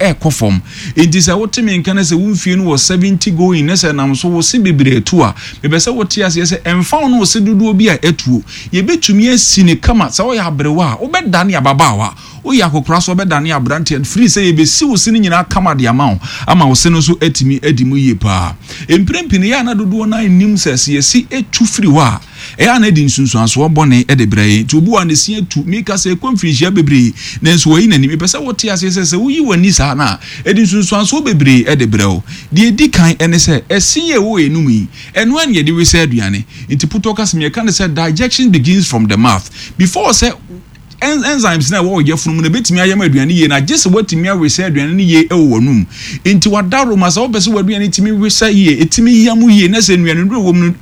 Ɛrekɔ fam. Enti sɛ wote me nka na sɛ wo mfie no wɔ 70 going na sɛ ɛnam so wo se bebree atu a, mepɛ sɛ wote aseɛ sɛ ɛmfa wo ne wo se dodoɔ bi a atuo, yɛbɛtumi asi no kama. Sɛ woyɛ aberewa a, wobɛdane ababaawa. Woyɛ akɔkora nso a, wobɛdane aberanteɛ. Firi sɛ yɛbɛsi wo se no nyinaa kama de ama wo ama wo se no nso atumi adi mu yie pa ara. Mprɛn pii no, ɛyɛ a na dodoɔ no ara nnim sɛ, sɛ yɛsi tu firi hɔ a, Ɛyɛ a na ɛde nsunsuansoɔ bɔne de brɛ yɛn. Nti obi wɔ hɔ a ne se atu, meka sɛ ɛkɔ mfirinhyia bebree, nanso wayi n'ani. Mepɛ sɛ wote aseɛ sɛ, sɛ woyi w'ani saa no a, ɛde nsunsuansoɔ bebree de brɛ wo. Deɛ ɛdi kan ne sɛ, ɛse yi a ɛwɔ yɛn anum yi, ɛno ara na yɛde wesa aduane. Nti putɔ kasa mu yɛka no sɛ digestion begins from the mouth. Before sɛ Enzymes no a ɛwɔ wo yafunu mu no bɛtumi ayam aduane yie na gye sɛ woatumi awesa aduane no yie wɔ w'anum. Nti w'adaworoma sɛ wopɛ sɛ w'aduane tumi wesa yie, ɛtumi yam yie na sɛ nnuanennuro wɔ mu no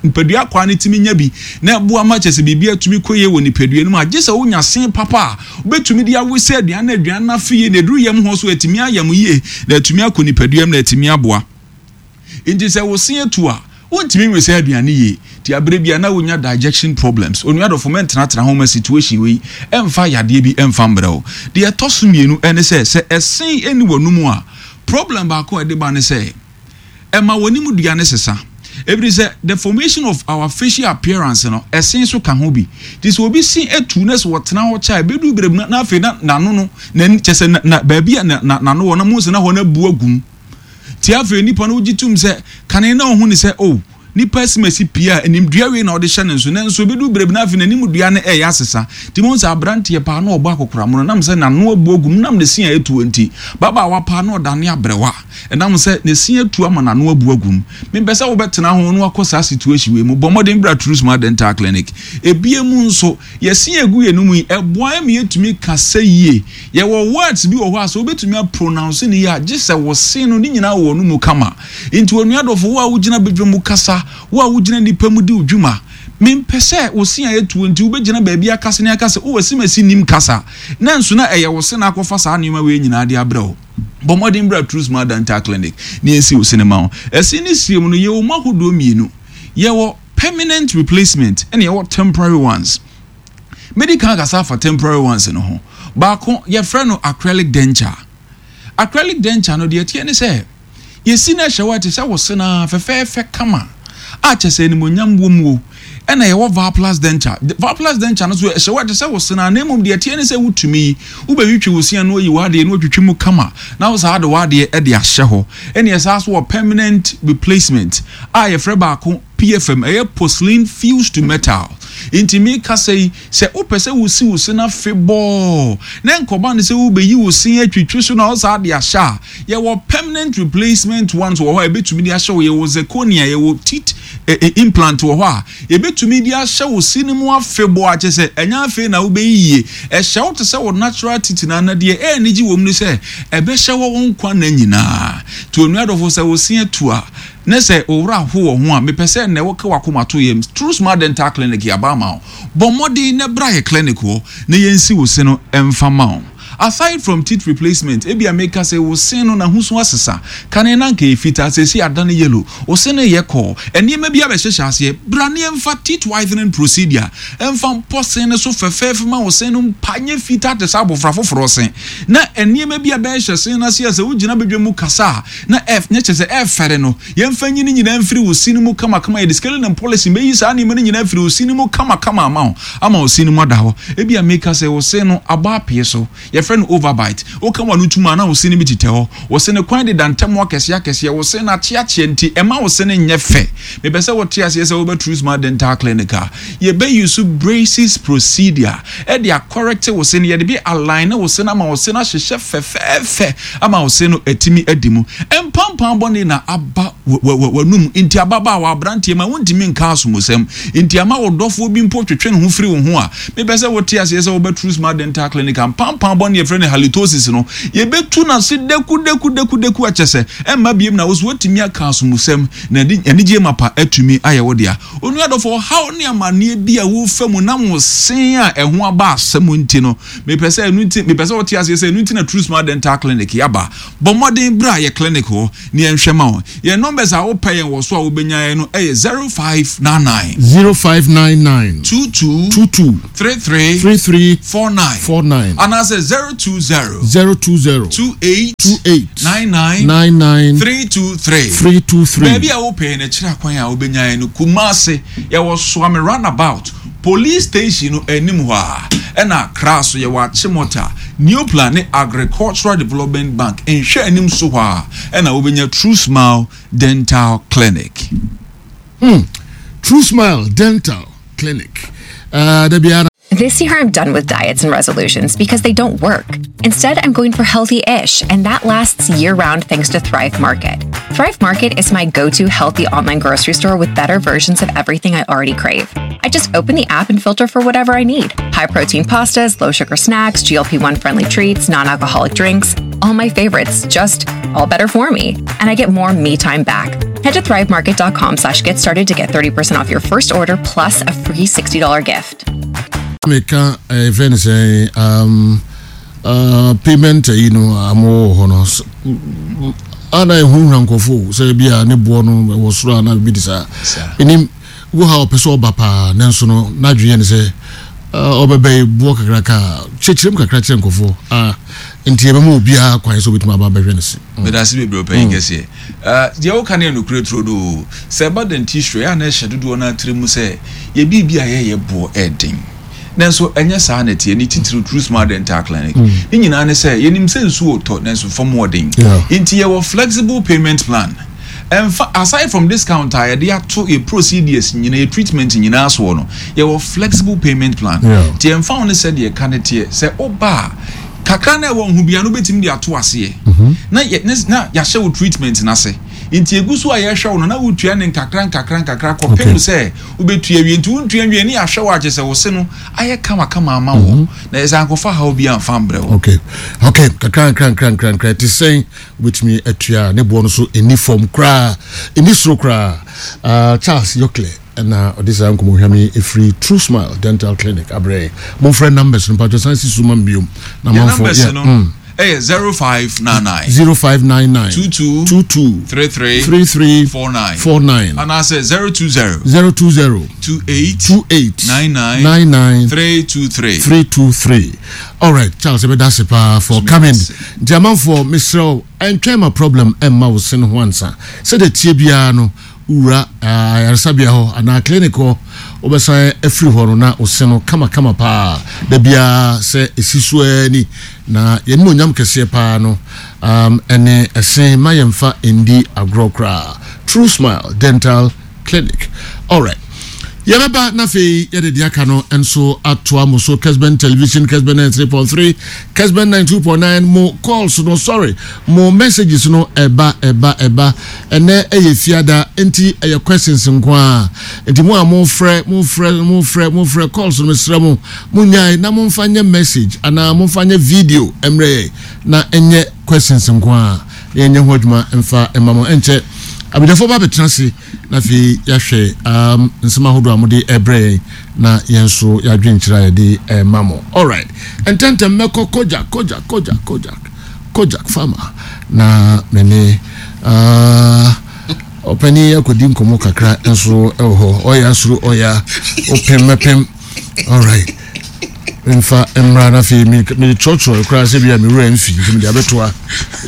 nipadua akwaa no tumi nya bi na ɛboa ma kyerɛ sɛ biribi atumi kɔ yie wɔ nipadua no mu a, gye sɛ wonya se papa a wobɛtumi de awesa aduane na aduane no afe yie na ɛduru yam hɔ so atumi ayam yie na atumi akɔ nipadua mu na atumi aboa. Enti sɛ wo se atu a, wontumi nwe saa aduane yie. Nti aberɛ biara na wonya digestion problems. Onua dɔfo mɛntenatena ho mma situation wei ɛmfa yadeɛ bi ɛmfa mbrɛ wo. Deɛ ɛtɔ so mmienu ɛne sɛ, sɛ ɛse ɛnni w'anomu a, problem baako a ɛde ba ne sɛ, ɛma w'anim dua no sesa. Ɛfiri sɛ the formation of our facial appearance no, ɛse nso ka ho bi. Nti sɛ obi se atu na sɛ ɔtena hɔ kyɛ a, ɛbɛduru berɛ bi na afei na n'ano no, n'ani, kyerɛ sɛ na baabi a n'ano wɔ no, mohu sɛ na hɔ no abu agu mu. Nti afei nipa no wogye tom sɛ kane na ɔhu ne sɛ oh nipa asimasi pii a animdua wei na ɔde hyɛ ne nso nanso ebedu bere bi na afei n'anim dua no ɛyɛ asesa. Nti mohu sɛ aberanteɛ paa na ɔbɔ akɔkoramono nam sɛ n'ano abu agu mu nam ne se a atuo nti. Babaawa paa na ɔdane aberewa ɛnam sɛ ne se atu ama n'ano abu agu mu. Mempɛ sɛ wobɛtena ho na wakɔ saa situation wei mu. Bɔ mmɔden bra True Smart Dental Clinic. Ebia mu nso Yɛse yɛgu yɛn mu yi, ɛboa yɛn ma yɛtumi kasa yie. Yɛwɔ words bi wɔ hɔ a sɛ wobɛtumi a pronounce no yie a, gye sɛ wo se no ne nyinaa wɔ no mu kama. Nti onua dɔfo, wo a wogyina badwa mu kasa, wo a wogyina nnipa mu di wo dwuma, mempɛ sɛ wo se a ɛtuo nti wobɛgyina baabi akasa ne aka sɛ, oh asimasi nnim kasa. Nanso na ɛyɛ wo se na akɔfa saa nneɛma wei nyinaa de abrɛ wo. Bɔ mmɔden bra True Smile Dental Clinic na yɛnsi wo se no ma wo. Ɛse ne sie mu no, yɛwɔ mu ahodoɔ mmienu. Yɛwɔ. Permanent replacement ɛna yɛwɔ temporary ones. Medi kan akasa afa temporary ones no ho. Baako yɛfrɛ no acrylic denture. Acrylic denture no deɛ ɛteɛ ne sɛ yɛsi no ɛhyɛ hɔ a ɛte sɛ wo se no ara fɛfɛɛfɛ kama a kyɛ sɛ animuonyam wɔ mu o. Ɛna yɛwɔ Valplus denture. Valplus denture no so ɛhyɛ hɔ a ɛte sɛ wo se no ara na mmom deɛ ɛteɛ ne sɛ wotumi yi, wobɛtwitwi wo se ano ayi w'adeɛ na watwitwi mu kama na wo saa de w'adeɛ de ahyɛ hɔ. Ɛna yɛsan so wɔ permanent replacement a yɛfrɛ baako PFM, ɛyɛ porcelain fused to metal. Nti me kasa yi, sɛ wopɛ sɛ wosi wo se no afebɔɔ, na nkɔba no sɛ wobɛyi wo se atwitwi so na wo saa de ahyɛ a, yɛwɔ permanent replacement ones wɔ hɔ a yɛbɛtumi de ahyɛ wo, yɛwɔ zirconia, yɛwɔ teeth eh, eh, implant wɔ hɔ a yɛbɛtumi de ahyɛ wo se no mu afebɔɔ a kyerɛ sɛ ɛnyɛ afei na wobɛyi yie. Ɛhyɛ wo te sɛ wo natural teeth no ana deɛ ɛyɛ anigye wɔ mu ne sɛ ɛbɛhyɛ hɔ wo nkwa nna nyinaa. Nti onua dɔfo sɛ wo se atu a, Ne sɛ wo werɛ ahow wɔ ho a, mepɛ sɛ nnɛ woka w'akoma to yam. True Smart Dental Clinic yɛaba ama wo. Bɔ mmɔden na bra yɛ clinic hɔ na yɛnsi wo se no mfa ma wo. Aside from teeth replacement, ebia meka sɛ wo se no n'ahosu asesa. Kane na anka ɛyɛ fitaa, seesei adane yellow. Wo se no reyɛ kɔɔ. Nneɛma bi abɛhyehyɛ aseɛ. Bra na yɛmfa teeth whitening procedure mfa mpɔ se no so fɛfɛɛfɛ ma wo se no mpa nyɛ fitaa te sɛ abɔfra foforɔ se. Na nneɛma bi abɛhyehyɛ se no ase a sɛ wogyina badwa mu kasa a, na ɛf nyɛ kyerɛ sɛ ɛfɛre no, yɛmfa nyi ne nyinaa mfiri wo se no mu kamakama, yɛde scaling and polishing bɛyi saa nneɛma no nyinaa afiri wo se no mu kamakama ama wo, ama wo se no mu ada hɔ. Ebia meka sɛ wo se no abɔ apee so, yɛfrɛ no overbite, woka w'ano tom a na wo se no bi tetɛ hɔ, wo se no kwan deda ntam akɛseɛ akɛseɛ, wo se no akyeakyea nti ɛmma wo se no nyɛ fɛ. Mepɛ sɛ wote aseɛ sɛ woba True Smile Dental Clinic a, yɛbɛ use braces procedure de akɔrɛkte wo se no, yɛde bɛ align wo se no ama wo se no ahyehyɛ fɛfɛɛfɛ ama wo se no atumi adi mu. Mpampaa bɔne na aba w'anum nti ababaawa, aberanteɛ ma wontumi nka asomusɛm nti ama wo dɔfoɔ bi mpo twetwe ne ho firi wo ho a, mepɛ sɛ wote aseɛ sɛ woba True Smile Dental Clinic a, mpampaa bɔne yɛfrɛ no halitosis no, yɛbɛtu no ase daku daku daku daku akyɛ sɛ ɛmma biom na wo so woatumi aka asomusɛm na anigyeɛ mapa atumi ayɛ wo dea. Onua dɔfo, ɔhaw ne amanneɛ bi a worefa mu nam wo se a ɛho aba asɛm nti no, mepɛ sɛ ɛno nti, mepɛ sɛ wote aseɛ sɛ ɛno nti na True Smile Dental Clinic yɛaba. Bɔ mmɔden bra yɛ clinic hɔ na yɛnhwɛ ma wo. Yɛn nɔmba. Numbers a wopɛ yɛn wɔ so a wobɛnya yɛn no yɛ 0599. 0599. 22. 22. 33. 33. 49. 49. Anaasɛ 020. 020. 28. 28. 99. 99. 323. 323. Baabi a wopɛ yɛn akyiri akwan a wobɛnya yɛn no, Kumasi, yɛwɔ Suame Runabout, Police station no anim hɔ ara, ɛna Accra nso yɛwɔ Achimota, Neoplan ne Agricultural Development Bank nhwɛanim so hɔ ara ɛna wobɛnya True Smile Dental Clinic. Hmm, True Smile Dental Clinic. Uh, da biara This year I'm done with diets and resolutions because they don't work. Instead, I'm going for healthy ish, and that lasts year round thanks to Thrive Market. Thrive Market is my go to healthy online grocery store with better versions of everything I already crave. I just open the app and filter for whatever I need high protein pastas, low sugar snacks, GLP 1 friendly treats, non alcoholic drinks, all my favorites, just all better for me. And I get more me time back. Head to thrivemarket.com slash get started to get 30% off your first order plus a free $60 gift. Meka eh, fɛn ne sɛ um, uh, payment yi no a mowɔ hɔ no ana ɛhunahuna nkurɔfoɔ sɛ bi a ne boɔ no ɛwɔ soro ana bi de saa ɛnim wo ha ɔpɛ sɛ ɔba paa nanso no n'adwene yɛ ne sɛ ɔbɛbɛ yi boɔ kakraka a kyerɛkyerɛ mu kakra kyerɛ nkurɔfoɔ a nti yɛbɛma obiara kwan sɛ obɛtumi aba abɛhwɛ no se. Meda ase bebree ɔpanyin kɛseɛ. Deɛ woka no yɛ nokorɛ turodoo. Sɛ ɛba dentistry a, ɛyɛ a na ɛhyɛ dodoɔ no ara tiri mu sɛ yɛ biribi a yɛyɛ boɔ ɛden. Nanso ɛnyɛ saa na ɛteɛ, ne titiriw True Smile Dental Clinic. Ne nyinaa ne sɛ yɛnim sɛ nsuo retɔ nanso fam wɔ den. Nti yɛwɔ flexible payment plan. Ɛmfa, aside from discount a yɛde ato yɛ procedures nyinaa, yɛ treatment nyinaa soɔ no, yɛwɔ flexible payment plan. Nti ɛmfa ho ne sɛdeɛ ɛka no teɛ, sɛ woba a, kakra no a ɛwɔ wo ho biara no wobɛtumi de ato aseɛ na yɛ, na yɛahyɛ wo treatment no ase. Nti ɛgu so a yɛhwɛ wo no na wotua no nkakra nkakra nkakra kɔpem sɛ wobɛtua awie. Nti wontua nwie ne yɛahwɛ wo a kyerɛ sɛ wo se no ayɛ kamakama ama wo na yɛsɛ ankɔfa haw biara amfa ambrɛ wo. Okay, okay, kakra nkra nkra nkra nkra ɛte sɛn wobɛtumi atua ne boɔ no so ɛni fam koraa ɛni soro koraa uh, Charles Yokle ɛna ɔde saa nkɔmmɔhwam yi ɛfiri True Smile Dental Clinic abrɛ momfrɛ numbers no mpatwɔ san si so ma mbiom na manfo yeah, mm. ɛyɛ 0599 0599 22 22 33 33 49 49 anaasɛ 020 020 28 28 99 99 323 323 Alright Charles yɛbɛda ase paa for coming nti amanfoɔ mesrɛ wo ɛntwɛn ma problem ɛmma wo se no ho ansa sɛdeɛ tie biara no wura ayaresabea hɔ anaa clinic hɔ wobɛsan afiri hɔ no na wo se no kama kama paa da biara sɛ ɛsi so ara ni na yɛn onyam kɛseɛ paa no um, ɛne ɛse ma yɛmfa ndi agorɔ koraa. True Smile Dental Clinic. Alright. Yɛbɛba na afei yɛde deɛ aka no nso atoa mo so. Kesben Television, Kesben 93.3, Kesben 92.9, mo calls no, sorry, mo messages no ɛba ɛba ɛba. Ɛnɛ ɛyɛ fiada nti ɛyɛ questions nko ara. Nti mo a mo frɛ, mo frɛ, mo frɛ, mo frɛ calls no mesrɛ mo, mo nyae na mo mfa nyɛ message anaa mo mfa nyɛ video mmerɛ yɛn na ɛnyɛ questions nko ara na yɛnyɛ ho adwuma mfa mma mo. Ɛnkyɛ abadwafoɔ ba abɛtena ase na afei yɛahwɛ um, nsɛm ahodoɔ a mode ɛbrɛ yɛn na yɛn nso yɛadwenkyerɛ a yɛde ɛma mo. Alright, ntɛntɛm mɛkɔ Kojak, Kojak, Kojak, Kojak, Kojak Farmer na me ne uh, ɔpanin akɔdi nkɔmmɔ kakra nso ɛwɔ hɔ. Ɔyɛ asoro ɔyɛ ɔpem mɛpem. Alright. Mfa mmra na afei mekyerɛkyerɛ koraa sɛ bia me wura mfi nti mede abɛtoa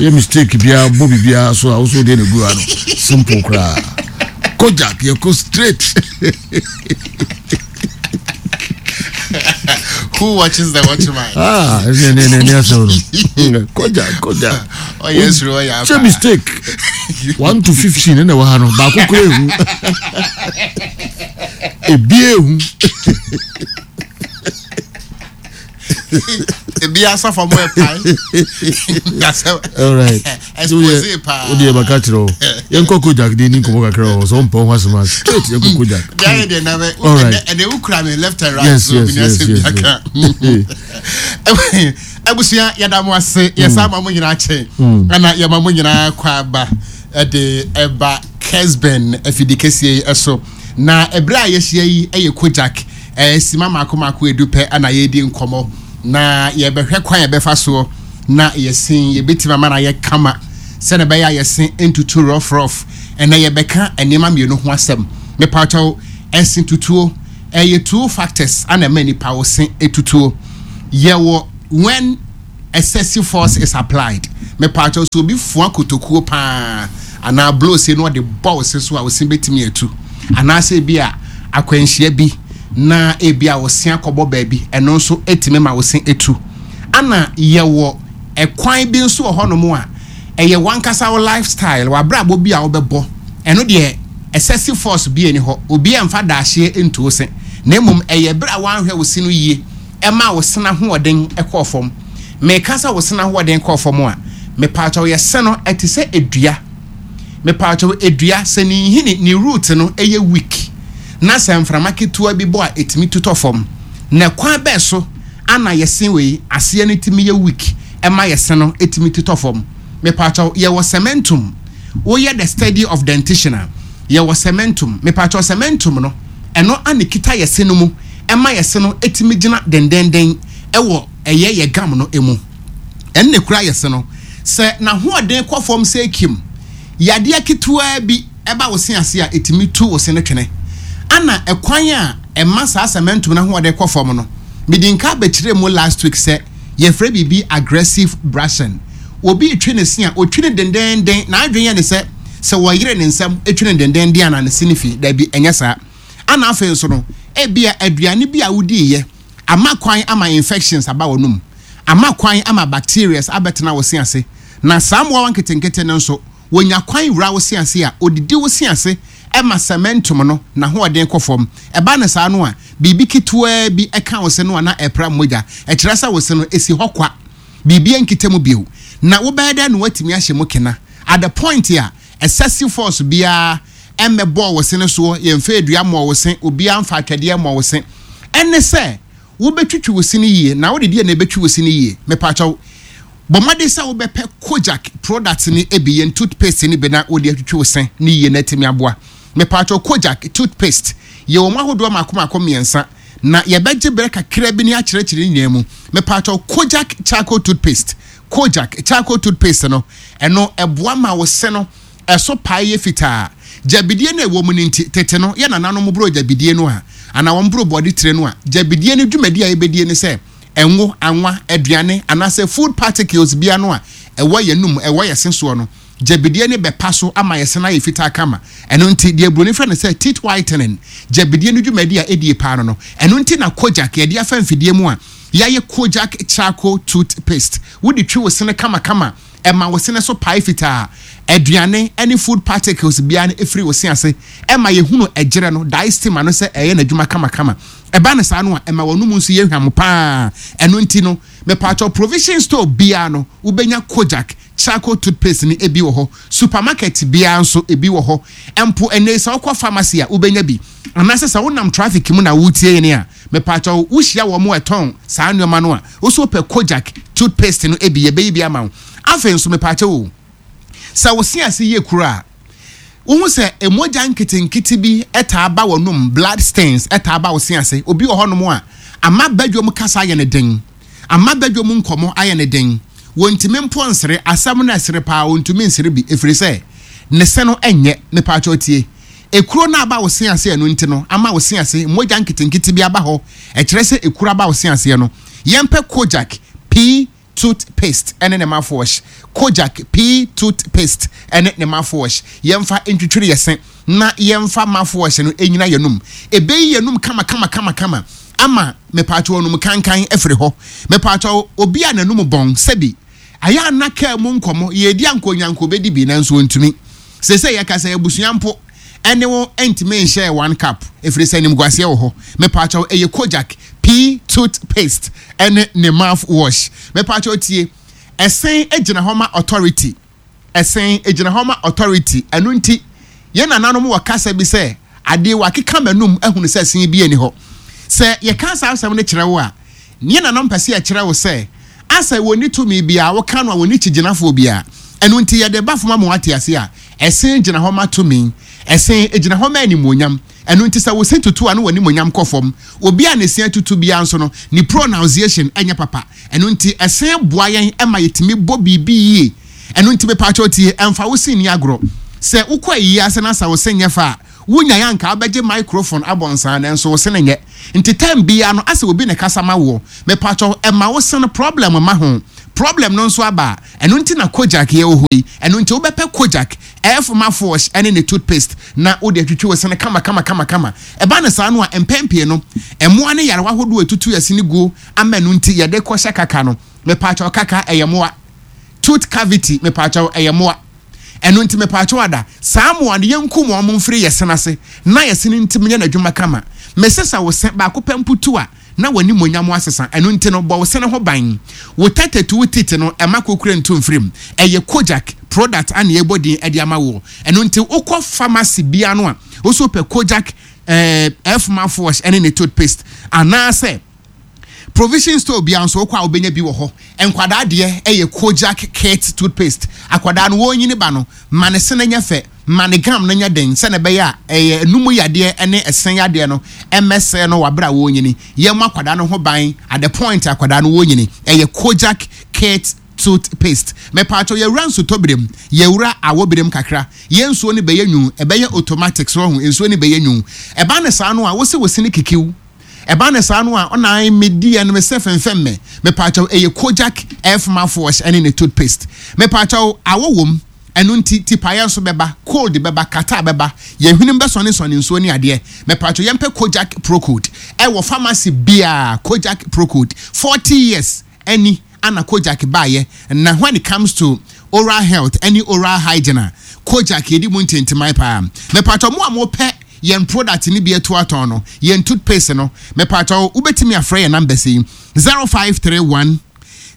yɛ mistake biara bɔ biribiara so a wo so wodeɛ na gu ano simple koraa. Kojak yɛkɔ straight. Who watches the watchman? Ah, ne ne ne ne asɛm no. Kojak Kojak. Oh yes, Roy. Kyɛ mistake 1 to 15 ɛna ɛwɔ ha no baako kora ehu. Ebi ehu. Ebi asafo mo ɛpae. Alright. Expose paa. O deɛ baka kyerɛ o. Yɛn kɔ Kojak de ni nkɔmɔ kakra o. Sɛ ɔmpɛ ho asɛm a straight yɛn kɔ Kojak. Deɛ ayɛ deɛ na bɛ. Alright. Ɛnɛ wukura mi left and right. Yes yes yes yes. yes. Abusua yɛda mo ase yɛsan ma mo nyinaa kyɛ ɛna yɛma mo nyinaa kɔ aba ɛde ɛba Kesben afidi kɛseɛ yi ɛso. Na ɛberɛ a yɛahyia yi yɛ Kojak sima mmaako mmaako edu pɛ na yɛredi nkɔmmɔ, na yɛbɛhwɛ kwan a yɛbɛfa soɔ na yɛsen yɛbɛtumi ama no ayɛ kama. Sɛnea ɛbɛyɛ a yɛse ntutu rough rough. Ɛnnɛ yɛbɛka nneɛma mmienu ho asɛm. Mepaakyɛw, ɛse tutuo, ɛyɛ two factors ana ɛma nipa wo se tutuo. Yɛwɔ when excessive force is applied. Mepaakyɛw, sɛ obi fua kotokuo paa anaa blow se na ɔde bɔ wo se so a, wo se bɛtumi atu. Anaasɛ ebi a akwanhyia bi na ebi a wo se akɔbɔ baabi, ɛno nso ɛtumi ma wo se tu. Ana yɛwɔ ɛkwan bi nso wɔ hɔnom a ɛyɛ w'ankasa wo lifestyle, w'abrabɔ bi a wobɛbɔ, ɛno deɛ excessive force bi nni hɔ, obiara mfa daahyeɛ ntu wo se, na mmom ɛyɛ berɛ a woanhwɛ wo se no yie ɛma wo se no ahoɔden kɔɔ fam. Meka sɛ wo se no ahoɔden kɔɔ fam a, mepaakyɛw yɛ se no ɛte sɛ dua. Mepaakyɛw dua, sɛ ne nhini, ne root no yɛ weak na sɛ mframa ketewa bi bɔ a ɛtumi tu tɔ fam. Na kwan bɛn so ana yɛse wei aseɛ no tumi yɛ weak ɛma yɛse no tumi totɔ fam? Mepaakyɛw yɛwɔ cementum, woyɛ the study of dentition a, yɛwɔ cementum. Mepaakyɛw cementum no ɛno ana ɛkita yɛse no mu ɛma yɛse no tumi gyina dendenden ɛwɔ ɛyɛ yɛ gum no mu. Ɛno na ɛkura yɛse no. Sɛ n'ahoɔden kɔ fam sɛ kim, yadeɛ ketewaa bi ɛba wo se ase a, ɛtumi tu wo se no twene. Ana ɛkwan a ɛma saa cementum no ahoɔden kɔ fam no, medi nka bɛkyerɛɛ mu last week sɛ yɛfrɛ biribi aggressive brushing. Obi retwe ne se a, ɔtwi no dendeenden, n'adwene yɛ ne sɛ, sɛ ɔyere ne nsam twi no dendeenden a na ne se no fi. Dabi, ɛnyɛ saa. Ana afei nso no, ebia aduane bi a wodiiɛ ama kwan ama infections aba w'anom, ama kwan ama bacterias abɛtena wo se ase, na saa mmoawa nketenkete no nso, wɔnya kwan wura wo se ase a, ɔdidi wo se ase ma cementum no n'ahoɔden kɔ fam. Ɛba no saa no a, biribi ketewaa bi ka wo se no a na ɛrepra mogya. Ɛkyerɛ sɛ wo se no, ɛsi hɔ kwa. Biribiara nkita mu bio. Na wobɛyɛ dɛn na woatumi ahyɛ mu kena? At the point a excessive force biara mmɛbɔɔ wo se no soɔ, yɛmfa dua mmɔɔ wo se, obiara mfa atwɛdeɛ mmɔɔ wo se. Ɛne sɛ wobɛtwitwi wo se no yie. Na wode deɛ na ɛbɛtwi wo se no yie? Mepakyɛw, bɔ mmɔden sɛ wobɛpɛ Kojak products no bi, yɛn toothpaste no bi na wode atwitwi wo se no yie na atumi aboa. Mepakyɛw, Kojak toothpaste, yɛwɔ mu ahodoɔ mmaako mmaako mmiɛnsa, na yɛbɛgye berɛ kakra bi ne akyerɛkyerɛ ne nyinaa mu. Mepakyɛw, Kojak charcoal toothpaste, Kojak charcoal toothpaste no, ɛno ɛboa ma wo se no ɛso pae yɛ fitaa. Gyabidie no a ɛwɔ mu no nti, tete no, yɛn nananom boroo gyabidie no a, anaa wɔn boroo bɔde tire no a, gyabidie no dwumadi a yɛbɛdie ne sɛ, ngo, anwa, aduane, anaasɛ food particles bi ano a ɛwɔ yɛn anum, ɛwɔ yɛn se soɔ no, gyabidie no bɛpa so ama yɛn se no ayɛ fitaa kama. Ɛno nti, deɛ buroni frɛ no sɛ teeth whitening, gyabidie no dwumadi a ɛdie paa no no. Ɛno nti na Kojak, yɛde afa mfidie mu a yɛayɛ Kojak charcoal toothpaste. Wode twi wo sene kamakama. Ɛma wo sene so pae fitaa. Aduane ne food particles biara no firi wo se ase. Ɛma yɛhunu ɛgyerɛ no, diastema no sɛ ɛyɛ n'adwuma kamakama. Ɛba no saa no a, ɛma w'anum nso yɛ hwam pa ara. Ɛno nti no, mepaakyɛw provision store biara no, wobɛnya Kojak charcoal toothpaste no bi wɔ hɔ. Supermarket biara nso, ebi wɔ hɔ. Mpo ɛnnɛ yi sɛ wokɔ pharmacy a, wobɛnya bi. Anaasɛ sɛ wonam traffic mu na woretie yɛn a, Mepaakyɛw, wohyia wɔn a ɛtɔn saa nneɛma no a, wo nso wopɛ Kojak toothpaste no bi, yɛbɛyi bi ama wo. Afei nso, mepaakyɛw o, sɛ wo se ase yɛ kuru a, wohu sɛ mogya nketenkete bi taa ba w'anom, blood stains taa ba wo se ase. Obi wɔ hɔnom a, ama badwam kasa ayɛ no den, ama badwam nkɔmmɔ ayɛ no den. Wɔntumi mpo nsere, asɛm no ɛsere paa, ɔntumi nsere bi, ɛfiri sɛ ne se no nyɛ. Mepaakyɛw tie. Ekuro no aba wo se ase ɛno nti no ama wo se ase mogya nketenkete bi aba hɔ ɛkyerɛ sɛ ekuro aba wo se aseɛ no yɛmpɛ Kojak P tooth paste ɛne ne mouthwash Kojak P tooth paste ɛne ne mouthwash yɛmfa ntwitwiri yɛ se na yɛmfa mouthwash no ɛnyina yɛnum ɛbɛyi yɛnum kama kama kama kama ama mepaakyɛw anum kankan afiri hɔ mepaakyɛw obi a n'anum bɔn sɛbi Ayɛ a na kaa mu nkɔmmɔ, yɛredi anka onya anka obedi bi nanso ontumi. Seesei yɛka sɛ abusua mpo ɛne wo ntumi nhyɛɛ one cup ɛfiri sɛ animguaseɛ wɔ hɔ. Mepaakyɛw ɛyɛ Kojak pii tooth paste ɛne ne mouth wash. Mepaakyɛw tie, ɛsen gyina hɔ ma authority. Ɛsen gyina hɔ ma authority. Ɛno nti, yɛn nananom wɔ kasa bi sɛ, Adeɛ wakeka m'anum ahunu sɛ sen biara nni hɔ. Sɛ yɛka saa asɛm no kyerɛ wo a, yɛn nananom pɛ sɛ yɛkyerɛ wo sɛ, asɛ wɔnni tumi biara, woka no a wɔnni kyigyinafoɔ biara. Ɛno nti, yɛde ba fam ama woate aseɛ a, ɛsen gyina hɔ ma tumi. Ɛsen gyina hɔ ma animuonyam. Ɛno nti, sɛ wo se tutu a na w'animuonyam kɔ fam. Obi a ne se atutu biara nso no, ne pronounciation nyɛ papa. Ɛno nti, ɛsen boa yɛn ma yɛtumi bɔ biribi yie. Ɛno nti mepaakyɛw tie, ɛmfa wo se nni agorɔ. Sɛ wokɔ ayie ase na sɛ wo se nyɛ fɛ a, wonyae a anka wobɛgye microphone abɔ nsaa nanso wo se no nyɛ. Nti time biara no asɛ obi na ɛkasa ma woɔ. Mepaakyɛw ɛma wo se no problem mma ho. Problem no nso aba a, ɛno nti na Kojak yɛ wɔ hɔ yi. Ɛno nti wobɛpɛ Kojak F mouthwash ne ne toothpaste na wode atwitwi wo se no kama kama kama kama. Ɛba no saa no a, mpɛn pii no, mmoa ne nyarewa ahodoɔ a ɛtutu yɛn se no guo ama ɛno nti yɛde kɔhyɛ kaka no. Mepaakyɛw kaka ɛyɛ mmoa. Tooth cavity mepaakyɛw ɛyɛ mmoa. Ɛno nti mepaakyɛw ada saa mmoa no yɛnkum wɔn mfiri yɛ sene ase na yɛ sene ntim nyɛ n'adwuma kama. Mesesa wo se baako pɛ mpo tu a na w'animuonyam asesa. Ɛno nti no bɔ wo sene ho ban. Wo tɛtɛtu wo teeth no ɛma kokure nto mfiri mu. Ɛyɛ Kojak product a na yɛbɔ din de ama woɔ. Ɛno nti wokɔ pharmacy biara no a wosɛ wopɛ Kojak eh, F mouthwash ɛne ne toothpaste anaasɛ Provision store biara nso wokɔ a wobɛnya bi wɔ hɔ. Nkwadaa deɛ yɛ Kojak Kids toothpaste. Akwadaa no wɔrenyini ba no, ma ne sene nyɛ fɛ, ma ne gum no nyɛ den sɛdeɛ ɛbɛyɛ a ɛyɛ anum yadeɛ ne ɛse yadeɛ no mmɛsɛe no wɔ aberɛ a wɔrenyini. Yɛmmɔ akwadaa no ho ban at the point a akwadaa no wɔrenyini. Ɛyɛ Kojak Kids toothpaste. Mepaakyɛw yɛwura nsutɔberɛ mu, yɛwura awɔberɛ mu kakra, yɛn nsuo no bɛyɛ nwunu, ɛbɛyɛ automatic, so wahu, nsuo no bɛyɛ nwunu. Ɛba no saa no a, wose wo sene kikiw. Ɛba no saa no a ɔna ae me di ɛno me sɛ fɛnfɛn mɛ mepaakyɛw ɛyɛ Kojak F mouthwash ɛne ne toothpaste mepaakyɛw awɔ wom ɛno nti tipaeɛ nso bɛba cold bɛba catarrh bɛba yɛn hwenem bɛsɔne sɔne nsuo ne adeɛ mepaakyɛw yɛmpɛ Kojak Procold ɛwɔ pharmacy biaa Kojak Procold 40 years ɛni ana Kojak baeɛ na when it comes to oral health ɛne oral hygiene a Kojak yɛdi mu ntintiman paa mepaakyɛw mo a mopɛ yɛn product no bi atu atɔn no yɛn toothpaste no mepaakyɛw wobɛtumi afrɛ yɛn numbers yi 0531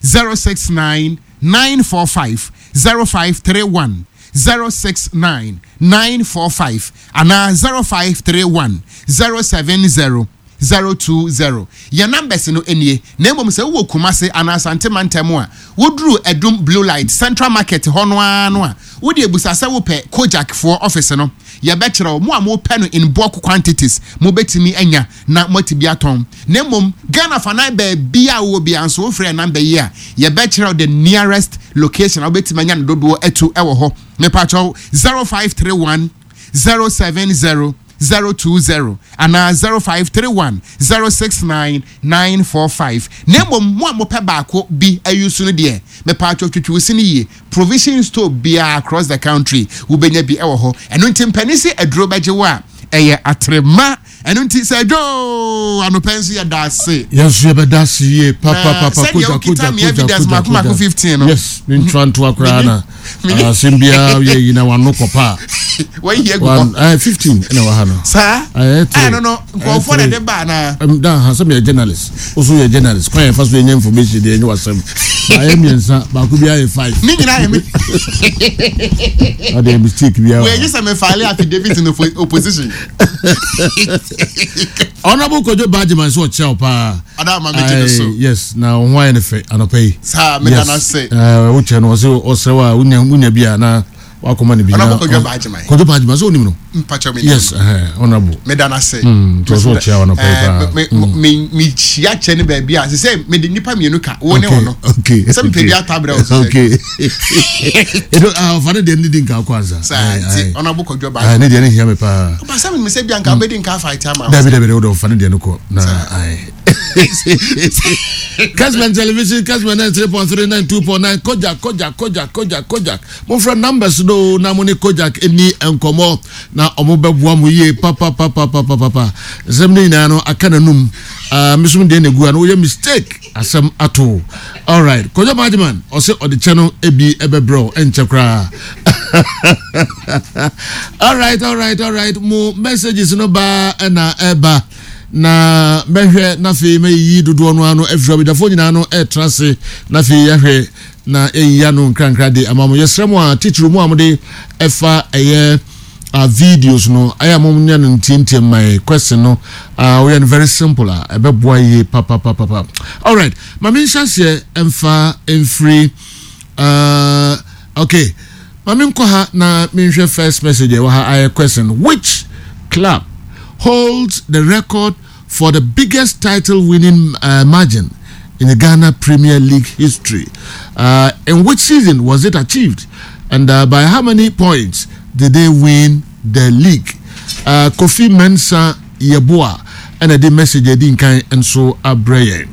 069 945 0531 069 945 anaa 0531 070 020. Yɛn numbers no nie, na mmom sɛ wowɔ Kumasi anaa Asante mantam a, woduru Adum Blue Light, Central Market hɔ no ara no a, wode abusa sɛ wopɛ Kojak foɔ office no, yɛbɛkyerɛ wo. Mo a mopɛ no in bulk quantities, mobɛtumi anya na moate bi atɔn. Na mmom Ghana fanan baabiara a wowɔ biara nso, wofrɛ yɛn number yi a, yɛbɛkyerɛ wo the nearest location a wobɛtumi anya no dodoɔ atu wɔ hɔ. Mepakyɛw, 0531 070 020 anaa 0531 069 945. Na mmom mo a mopɛ baako bi ayusu no deɛ, mepatwɔ twitwi wo se no yie. Provision store biara across the country wobɛnya bi wɔ hɔ. Ɛno nti mpanin se aduro bɛgye wo a, ɛyɛ atrema. Ɛno nti sɛ adwo anɔpa nso yɛda ase. Yɛn nso yɛbɛda ase yie papapapa. Sɛdeɛ wokita me evidence mako mako 15 no. Yes, ne ntura ntoa koraa na asɛm biara yɛ yi na wano kɔpa a. Wɔyi agu hɔ. One, 15 ɛna wɔ ha no. Saa. Ɛno no nkurɔfoɔ na ɛde ba anaa. Da ha sɛ meyɛ journalist. Wo so yɛ journalist. Kwan yɛfa so yɛnya information deɛ ɛnyɛ wasɛm. Baayɛ mmiɛnsa baako biara yɛ five. Ne nyinaa yɛ me. Ɔde mistake biara. Wɔyɛ sɛ me file affidavit in opposition. Honorable Kojo Bajiman sɛ ɔkyerɛ wo paa. Ada ma me gye so. Yes, na wo ho ayɛ ne fɛ anɔpa yi. Saa me da na se. Eh, wo kyɛ no ɔsɛ ɔsrɛ wa wonya wonya bi a na wakɔma no bi. Honorable Kojo Bajiman. Kojo Bajiman sɛ onim no. Mpakyɛ me. Yes, eh, honorable. Me da na se. Mm, to so ɔkyerɛ wo anɔpa yi paa. Me me me hyia kyɛ ne baabi a sɛ sɛ me de nipa mmienu ka wo ne ɔno. Okay. Sɛ mepɛ bi atabrɛ wo so. Okay. Edo ah ɔfa ne deɛ ne di nka akɔ ansa. Saa nti honorable Kojo Bajiman. Ah ne deɛ ne hia me paa. Ɔba sɛ me sɛ bi anka wobɛdi nka afa iti ama. Dabi dabi dabi ɔfa ne deɛ no kɔ na ayi. Kesben Television, Kesben 93.3, 92.9, Kojak, Kojak, Kojak, Kojak, Kojak. Momfrɛ numbers no na mo ne Kojak ɛni nkɔmmɔ na ɔmo bɛboa mo yie papapapapapa. Nsɛm no nyinaa no aka n'anum. Uh, mesom deɛ na egu ano woyɛ mistake asɛm ato. Alright, Kojak Bajiman ɔsɛ ɔde kyɛ no ebi ɛbɛbrɛ wo ɛnkyɛ koraa. Alright, alright, alright. Mo messages no ba ɛna ɛba. Na mɛhwɛ na afei mɛyiyi dodoɔ no ano afiri abadwafoɔ nyinaa no ɛretra ase na afei yɛahwɛ na yɛayiyi ano nkrankra de ama mo. Yɛsrɛ mo a titiriw mo a mode ɛfa ɛyɛ uh, videos no ayɛ a monyɛ no ntiantiam ma yɛ question no uh, woyɛ no very simple a ɛbɛboa yie papapapapa. Alright, ma menhyɛ aseɛ ɛmfa mfiri uh, okay ma menkɔ ha na menhwɛ first message ɛwɔ ha ayɛ question which club holds the record for the biggest title winning uh, margin? in the Ghana Premier League history? Uh, in which season was it achieved? And uh, by how many points did they win the league? Uh, Kofi Mensah Yeboah ɛna de message adi nkan nso abrɛ yɛn.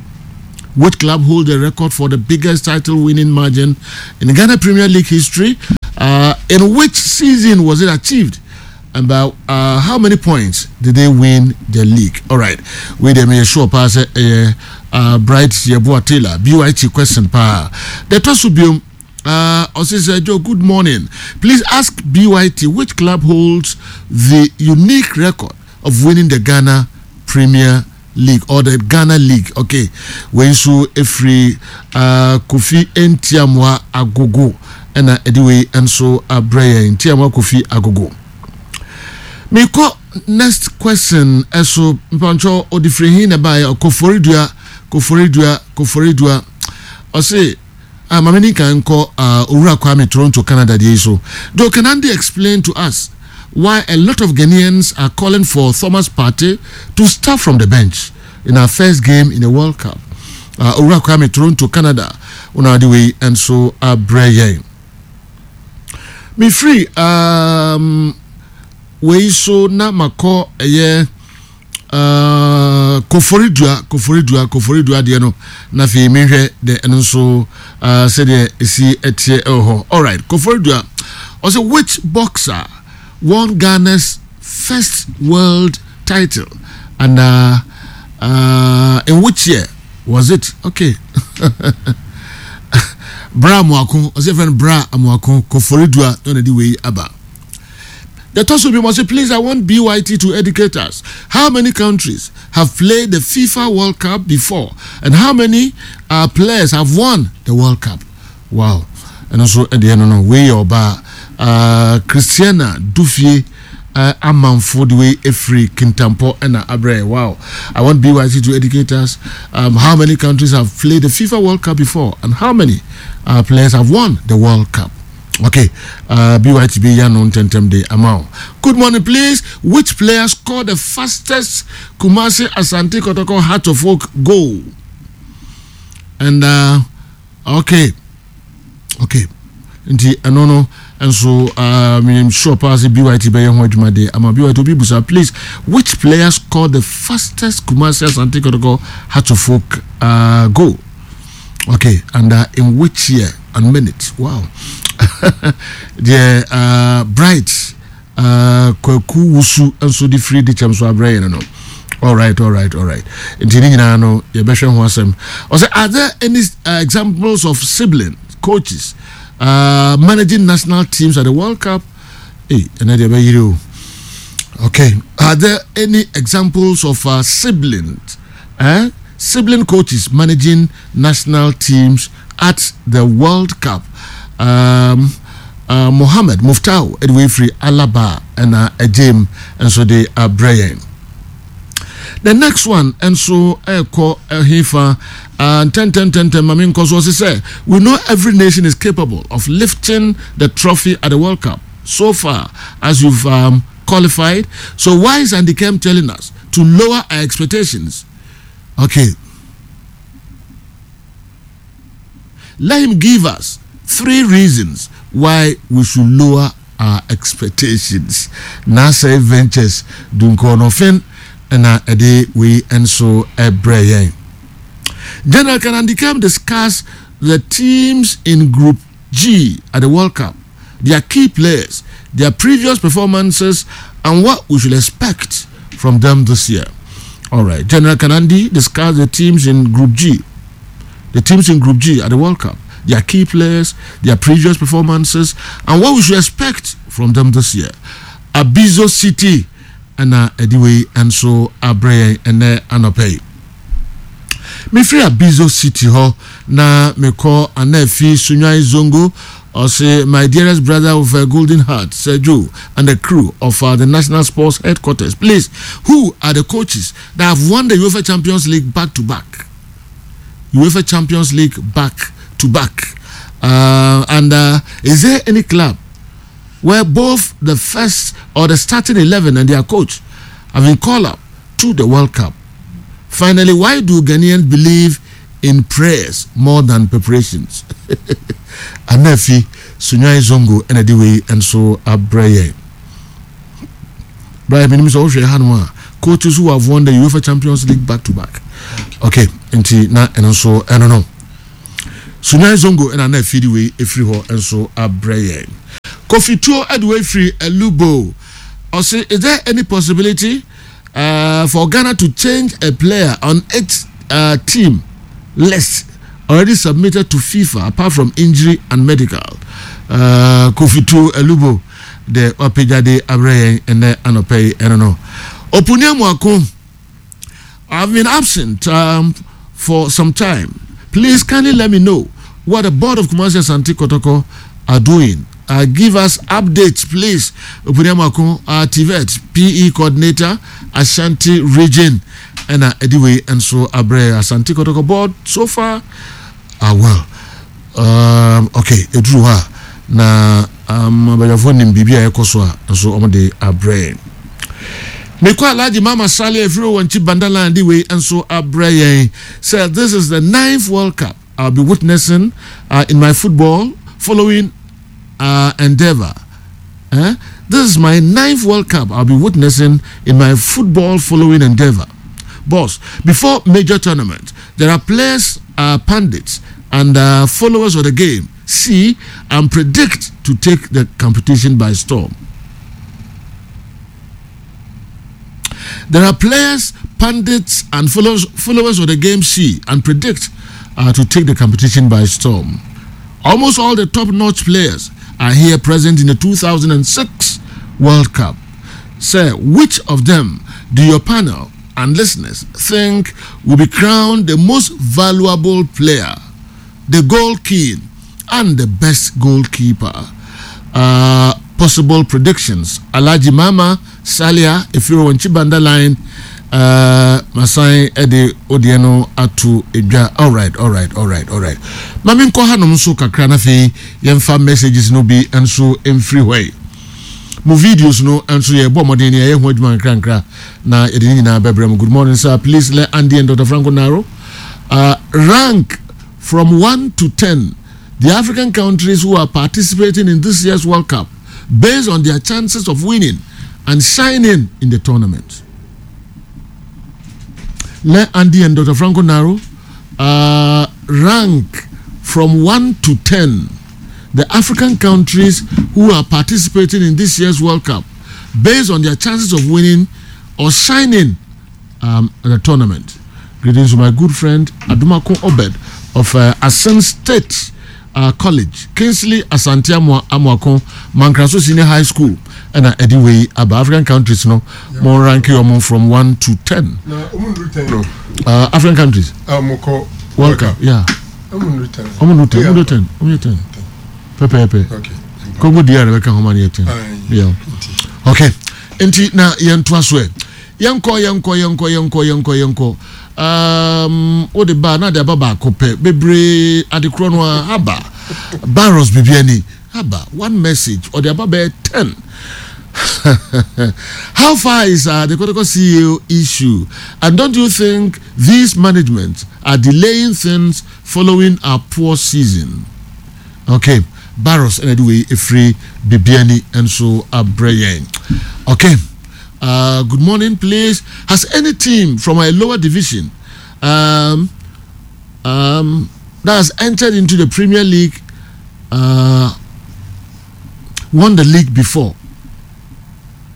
Which club hold the record for the biggest title winning margin in Ghana Premier League history? Uh, in which season was it achieved? And by uh, how many points did they win the league? All right. Wei deɛ meyɛ sure paa sɛ ɛyɛ uh, Bright Yeboah Taylor BYT question paa. Deɛ ɛtɔ so biom uh, ɔse sɛ Joe good morning. Please ask BYT which club holds the unique record of winning the Ghana Premier League or the Ghana League. Okay, wei nso efiri uh, Kofi Ntiamoa Agogo ɛna ɛde wei nso abrɛ yɛn Ntiamoa Kofi Agogo. Mekɔ next question ɛso mpantwɔ ɔde firi hin na ɛbaeɛ Koforidua Koforidua Koforidua ɔse ah maame ni kan nkɔ uh, Owura Kwame Toronto Canada deɛ yi so. Joe Kenandi explain to us why a lot of Ghanaians are calling for Thomas Partey to start from the bench in our first game in the World Cup. Uh, Owura Kwame Toronto Canada una ade wei nso abrɛ yɛn. Mefiri um, wei so na makɔ ɛyɛ uh, koforidua koforidua koforidua deɛ no na afei mehwɛ deɛ ɛno nso uh, sɛdeɛ ɛsi ɛteɛ ɛwɔ hɔ alright koforidua ɔsɛ which boxer won Ghana's first world title and uh, uh, in which year was it okay bra amoako ɔsɛ fɛn bra amoako koforidua na ɔna de wei aba The Tosu must say, please, I want BYT to educate us. How many countries have played the FIFA World Cup before? And how many uh, players have won the World Cup? Wow. And also, at the end, no, we are uh, Christiana Dufie. Uh, amanfo de wei efiri kintampo ɛna abrɛ wow i want byc to educate us um, how many countries have played the fifa world cup before and how many uh, players have won the world cup Okay, uh, BYTB ya no ntɛntɛm de ama wo. Good morning, please. Which player scored the fastest Kumasi Asante Kotoko Heart of Oak goal? And uh, okay, okay. Nti ɛno no nso uh, menim sure paa sɛ BYT bɛyɛ ho adwuma de ama BYT obi busa please which player scored the fastest Kumasi Asante Kotoko Heart of Oak uh, goal? Okay, and uh, in which year and minute? Wow. the uh, bright uh, Kwaku Wusu nso de firi de kyɛm so abrɛ yɛn no. All right, all right, all right. Nti ne nyinaa no yɛbɛhwɛ ho asɛm. Ɔsɛ are there any uh, examples of sibling coaches uh, managing national teams at the World Cup? Hey, ɛnɛ deɛ ɛbɛyere o. Okay, are there any examples of uh, siblings? Eh? Sibling coaches managing national teams at the World Cup. Um, uh, Mohammed Muftau ɛde firi Alaba ɛna ɛgyem nso de abrɛ yɛn. The next one nso ɛkɔ ɛhefa ntɛntɛntɛntɛn maame nkɔ so ɔsi sɛ we know every nation is capable of lifting the trophy at the World Cup so far as you've um, qualified. So why is Andy Kem telling us to lower our expectations? Okay. Let him give us three reasons why we should lower our expectations. Nasa Ventures Dunkonofen ɛna ɛde wei nso ɛbrɛ yɛn. General can Andy Kem discuss the teams in Group G at the World Cup, their key players, their previous performances, and what we should expect from them this year. All right, General Kanandi discussed the teams in Group G, the teams in Group G at the World Cup, their key players, their previous performances, and what we should expect from them this year. Abizo City ɛna ɛde wei nso abrɛ yɛn ɛnɛ anɔpɛ yi. Mefiri Abizo City hɔ na mekɔ Anafi Sunwan Zongo ɔse my dearest brother with a golden heart Sir Joe and the crew of uh, the National Sports Headquarters please who are the coaches that have won the UEFA Champions League back to back UEFA Champions League back to back uh, and uh, is there any club where both the first or the starting 11 and their coach have been called up to the World Cup. Finally, why do Ghanaians believe in prayers more than preparations. Anafi Sunyani Zongo ɛna de wei nso abrɛ yɛn. Brian, menim sɛ wohwɛ hanom a coaches who have won the UEFA Champions League back to back. Okay, nti na ɛno nso ɛno no. Sunyani Zongo ɛna na afidi wei efiri hɔ nso abrɛ yɛn. Kofi Tuo ɛde wei firi Elubo. Ɔse, is there any possibility uh, for Ghana to change a player on its uh, team list already submitted to FIFA apart from injury and medical? Uh, Kofi Tuo Elubo de wapagya de abrɛ yɛn ɛnɛ anɔpɛ yi ɛno no. Opuni Amuako, I've been absent um, for some time. Please kindly let me know what the board of Kumasi Asante Kotoko are doing. Uh, give us updates, please. Opuni Amuako, uh, TVET, PE coordinator, Ashanti region. And uh, anyway, and so abrɛ Asante Kotoko board so far are well. Um, okay, ɛduru hɔ a na um, abadwafoɔ nim biribi a ɛkɔ so a nso wɔde abrɛ yɛn. Mekɔ Alhaji Mama Sale afiri wɔn akyi Bandaland de wei nso abrɛ yɛn sɛ this is the ninth World Cup I'll be witnessing uh, in my football following uh, endeavor. Eh? This is my ninth World Cup I'll be witnessing in my football following endeavor. Boss, before major tournament, there are players, uh, pundits, and uh, followers of the game see and predict to take the competition by storm. There are players, pundits, and followers, followers of the game see and predict uh, to take the competition by storm. Almost all the top notch players are here present in the 2006 World Cup. Sir, which of them do your panel and listeners think will be crowned the most valuable player, the goal king, and the best goalkeeper? Uh, possible predictions Alhaji Mama Salia efiri wɔn Chibanda line uh, masan de odeɛ no ato edwa alright alright alright alright maame nkɔ hanom nso kakra na afei yɛmfa messages no bi nso mfiri hɔ yi mo videos no nso yɛbɔ mmɔden ne yɛyɛ ho adwuma nkrankra na yɛde ne nyinaa bɛbrɛ mu good morning sir please let Andy and Dr. Franco Naro uh, rank from 1 to 10 the African countries who are participating in this year's World Cup based on their chances of winning and shining in the tournament. Let Andy and Dr. Franco Naro uh, rank from 1 to 10 the African countries who are participating in this year's World Cup based on their chances of winning or shining um, the tournament. Greetings to my good friend Adumako Obed of uh, Asen State uh, College, Kingsley Asante Amoako, Mankraso Senior High School, and uh, anyway, about African countries, no, yeah. more rank you from 1 to 10. No, 10. Uh, African countries. Um, World Cup, yeah. Ɔmo 10. Ɔmo 10. Ɔmo 10. Ɔmo 10. Pɛpɛɛpɛ. Okay. Congo DR bɛka ho ma no yɛ 10. Yeah. Okay. Nti na yɛntoa so ɛ. Yɛnkɔ yɛnkɔ yɛnkɔ yɛnkɔ yɛnkɔ yɛnkɔ. Um, wode ba na de aba baako pɛ. Bebree adekorɔ no a aba. Barrels biribi ani. Aba one message ɔde aba bɛyɛ 10. How far is uh, the Kotoko CEO issue? And don't you think these management are delaying things following our poor season? Okay, Barros and anyway, free Bibiani and so Abrayan. Okay, uh, good morning, please. Has any team from a lower division um, um, that has entered into the Premier League uh, won the league before?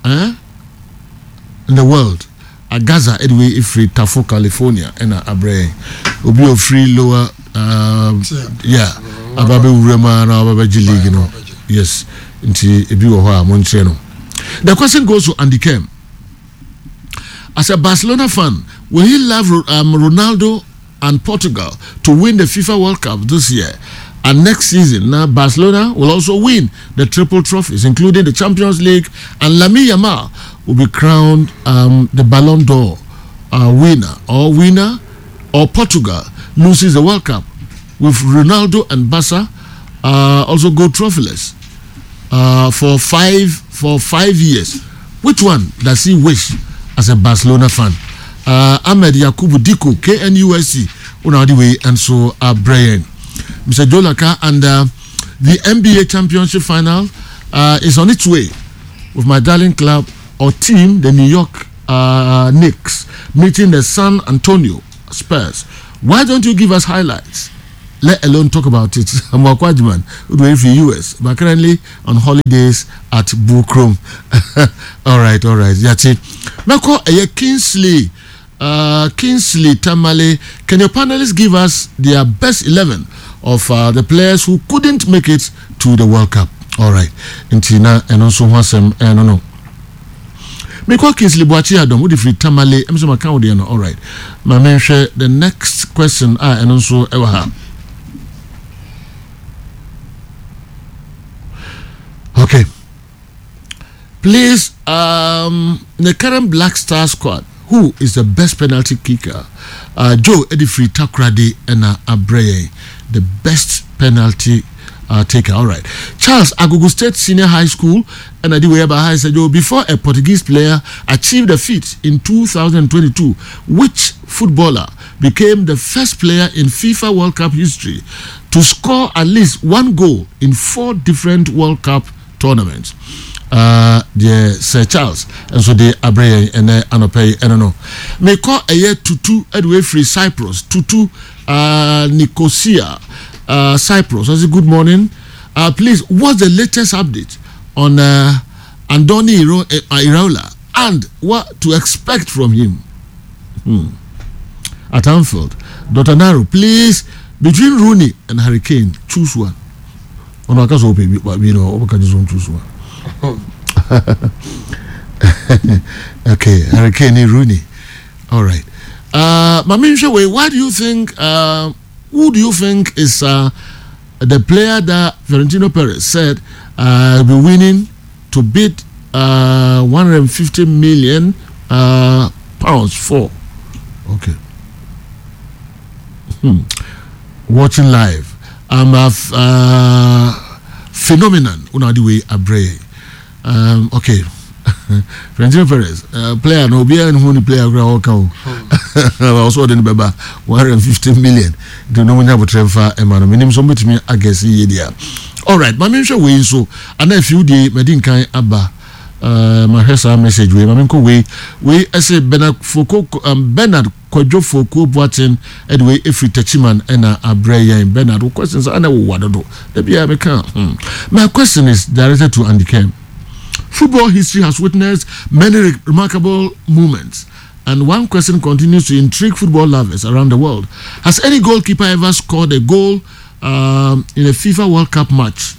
Eh? In the world? Agaza anyway efiri Tafo California ɛna abrɛ obi ofiri lower um, yeah aba bɛwura mu ara na aba bɛgye league no yes nti ebi wɔ hɔ a mo nkyerɛ no the question goes to Andy Kem as a Barcelona fan will he love um, Ronaldo and Portugal to win the FIFA World Cup this year and next season now Barcelona will also win the triple trophies including the Champions League and Lamine Yamal will be crowned um, the Ballon d'Or uh, winner or winner or Portugal loses the World Cup with Ronaldo and Barca uh, also go trophyless uh, for five for five years. Which one does he wish as a Barcelona fan? Uh, Ahmed Yakubu Diko, KNUSC, Wo na wode wei nso abrɛ yɛn. Mr. Joe Laka and uh, the NBA Championship final uh, is on its way with my darling club or team, the New York uh, Knicks, meeting the San Antonio Spurs. Why don't you give us highlights? Let alone talk about it. I'm Wakwajiman, who US, but currently on holidays at Bukrom. all right, all right. Yati. Meko eye Kingsley uh, Kingsley Tamale, can your panelists give us their best 11 of uh, the players who couldn't make it to the World Cup? All right. Nti na ɛno nso ho asɛm ɛno no. Mekɔ Kingsley Boakye Adom, wode firi Tamale, ɛm sɛ maka wo deɛ no. All right. Ma menhwɛ the next question a ɛno nso ɛwɔ ha. Okay. Please, um, the current Black Star squad, who is the best penalty kicker? Uh, Joe Edifri Takrade and Abreye, the best penalty uh, taker. All right. Charles Agugu State Senior High School and Adiweba High said, Joe, before a Portuguese player achieved the feat in 2022, which footballer became the first player in FIFA World Cup history to score at least one goal in four different World Cup tournaments? Uh, deɛ Sir Charles nso de abrɛ yɛn ɛnɛ anɔpɛ yi ɛno no mekɔ ɛyɛ tutu ɛde wei firi Cyprus tutu uh, Nicosia uh, Cyprus ɔsi good morning uh, please what's the latest update on uh, Andoni Iraola and what to expect from him hmm. at Anfield Dr. Naro please between Rooney and Harry Kane choose one ɔno aka sɛ ɔpɛ bi bi no ɔbɛka gye so nto so a okay Harry Kane ne Rooney all right uh, Mami Nhwɛ why do you think uh, who do you think is uh, the player that Florentino Perez said uh, will be winning to bid uh, 150 million uh, pounds for okay hmm. watching live I'm a uh, phenomenon una di wei abrɛ yɛn um, okay Florentino Perez uh, player no obiara nhu ne player koraa ɔka o ɔsɔ ɔde no bɛba 150 million nti no munya abotrɛ mfa ɛma no menim sɛ ɔmbɛtumi agɛse yie deɛ alright ma menhwɛ wei nso ana afiw deɛ madi nkan aba uh, mahwɛ saa message wei ma menkɔ wei wei ɛsɛ Bernard Foko um, Bernard Kwadwo Fokuo Boateng de wei ɛfiri Techiman na abrɛ yɛn. Bernard, wo questions a na ɛwowa dodo. Da biara meka hmm. My question is directed to Andy Kem. Football history has witnessed many remarkable moments and one question continues to intrigue football lovers around the world. Has any goalkeeper ever scored a goal um, in a FIFA World Cup match?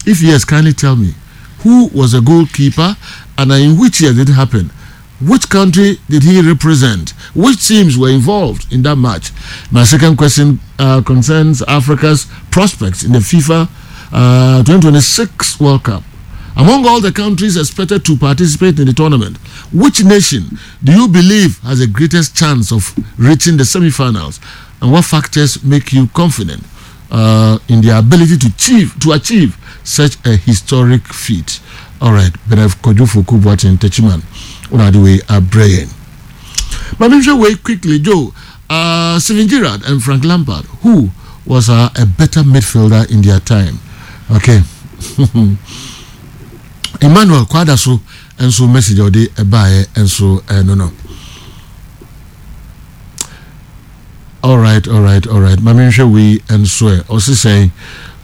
If yes, kindly tell me who was the goalkeeper and in which year did it happen? Which country did he represent? Which teams were involved in that match? My second question uh, concerns Africa's prospects in the FIFA uh, 2026 World Cup. Among all the countries expected to participate in the tournament, which nation do you believe has the greatest chance of reaching the semi-finals? And what factors make you confident uh, in their ability to achieve, to achieve such a historic feat? All right, Benef Kojo Foku Boateng Techiman, Unadiwe Abreyen. But wait quickly, Joe. Uh, Steven Gerrard and Frank Lampard, who was uh, a better midfielder in their time? Okay. Emmanuel Kwadaso nso message a ɔde ɛbaeɛ nso ɛno no. Alright, alright, alright. Maame nhwɛ wei nso ɛ. Ɔsi sɛn?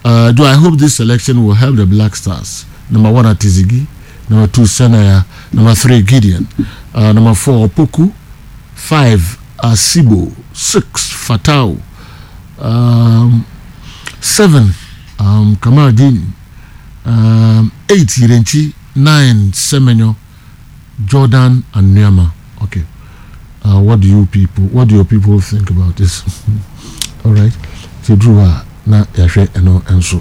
Uh, do I hope this selection will help the Black Stars? Number one, Atizigi. Number two, Senaya. Number three, Gideon. Uh, number four, Opoku. Five, Asibo. Six, Fatau. Um, seven, um, Kamardini. Um, eight, Yirenchi. 9 Semenyo, Jordan and Nuamah. Okay. Uh, what do you people, what do your people think about this? All right. Ti duru a na yɛahwɛ ɛno nso.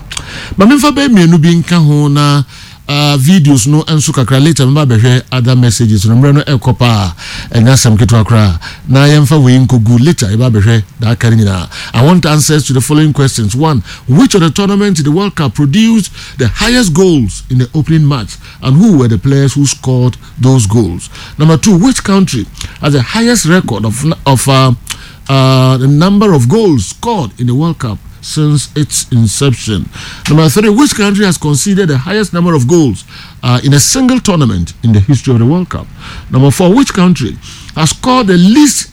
Ma memfa bɛyɛ mmienu bi nka ho na uh, videos no nso kakra later meba bɛhwɛ other messages no mmerɛ no ɛkɔ paa ɛnyɛ asɛm ketewa koraa na yɛmfa wei nkɔgu later yɛba bɛhwɛ daa aka no nyinaa. I want answers to the following questions. One, which of the tournaments in the World Cup produced the highest goals in the opening match and who were the players who scored those goals? Number two, which country has the highest record of, of uh, uh, the number of goals scored in the World Cup since its inception? Number three, which country has conceded the highest number of goals uh, in a single tournament in the history of the World Cup? Number four, which country has scored the least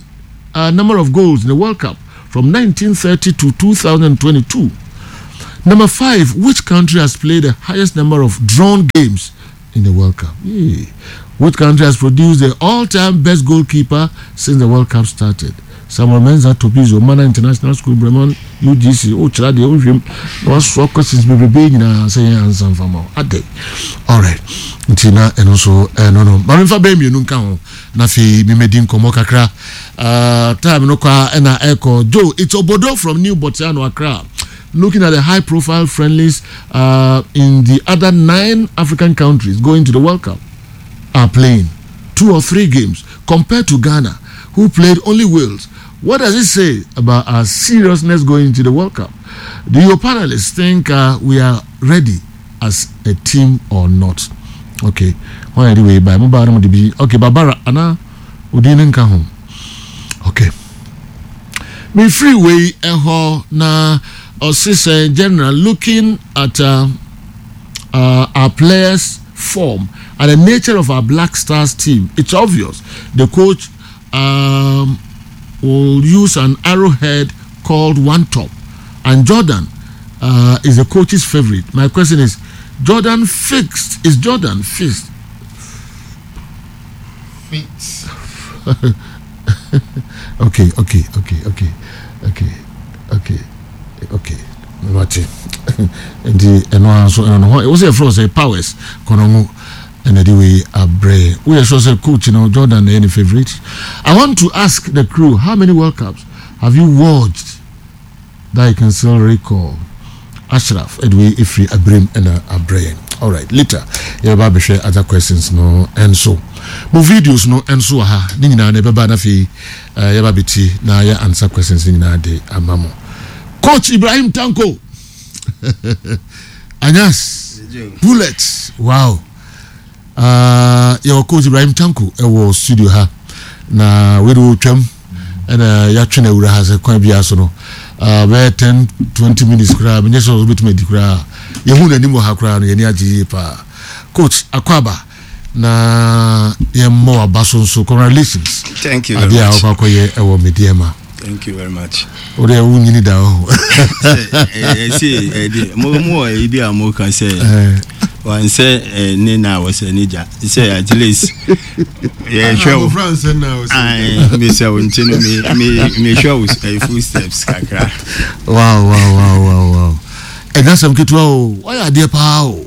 uh, number of goals in the World Cup from 1930 to 2022? Number five, which country has played the highest number of drawn games in the World Cup? Yeah. Which country has produced the all-time best goalkeeper since the World Cup started? Samuel Mensah Tobizo, Mana International School, Bremen, UGC. Oh, kyerɛ deɛ wohwɛm na wasoa questions bebrebe nyinaa sɛ yɛn ansa mfa ma wo. Ade. Alright. Nti na ɛno nso ɛno no. Ma memfa bɛyɛ mmienu nka ho na afei memɛdi nkɔmmɔ kakra. Uh, time no kɔ a ɛna ɛkɔ. Joe, it's Obodo from New Botiano, Accra. Looking at the high profile friendlies uh, in the other nine African countries going to the World Cup are playing two or three games compared to Ghana, who played only Wales. What does it say about our seriousness going into the World Cup? Do your panelists think uh, we are ready as a team or not? Okay. Why anyway, by mobile okay, Barbara Anna Odin nka ho. Okay. Me free way ɛhɔ na ɔse sɛ general looking at uh, uh, our players form and the nature of our Black Stars team, it's obvious the coach um, will use an arrowhead called One Top, and Jordan uh, is the coach's favorite. My question is, Jordan fixed? Is Jordan fixed? Fit. okay, okay, okay, okay, okay, okay, okay. Mate. Nti ɛno ara nso ɛno no hɔ ɛwɔ sɛ yɛfrɛ sɛ powers kɔnɔngo ɛna de wei abrɛ woyɛ sure sɛ coach no Jordan na ɛyɛ ne favourite. I want to ask the crew how many World Cups have you watched that you can still recall? Ashraf ɛde wei efiri abirem ɛna abrɛ yɛn. Alright, later yɛbɛba abɛhwɛ other questions no ɛnso. Mo videos no ɛnso wɔ ha ne nyinaa na ɛbɛba na afei eh, yɛba abɛti na yɛ answer questions ne nyinaa de ama mo. Coach Ibrahim Tanko Anyas Bullet wow uh, yɛwɔ Coach Ibrahim Tanko ɛwɔ studio ha na wei de wɔtwam ɛna yɛatwe no awura ha sɛ kwan biara so no uh, bɛyɛ 10 20 minutes koraa menyɛ sɛ wobɛtumi adi koraa yɛhu n'anim wɔ ha koraa no yɛni agye yie paa coach akwaba na yɛmmɔ waba so nso congratulations Thank you very adeɛ a much. wokɔ akɔyɛ ɛwɔ Medeama Thank you very much. wode wonyini da hɔ Ɛsɛ ɛdi mo mo wɔ eyi bi a mo ka sɛ wansɛ ne na wɔsɛ ne gya sɛ at least yɛhwɛ wo Abɔfra nsɛ na ɔsɛ. Ae, mesɛ wo nti no me me mehwɛ wo eh, footsteps kakra. wow wow wow wow wow ɛnyɛ asɛm ketewa o wayɛ adeɛ paa o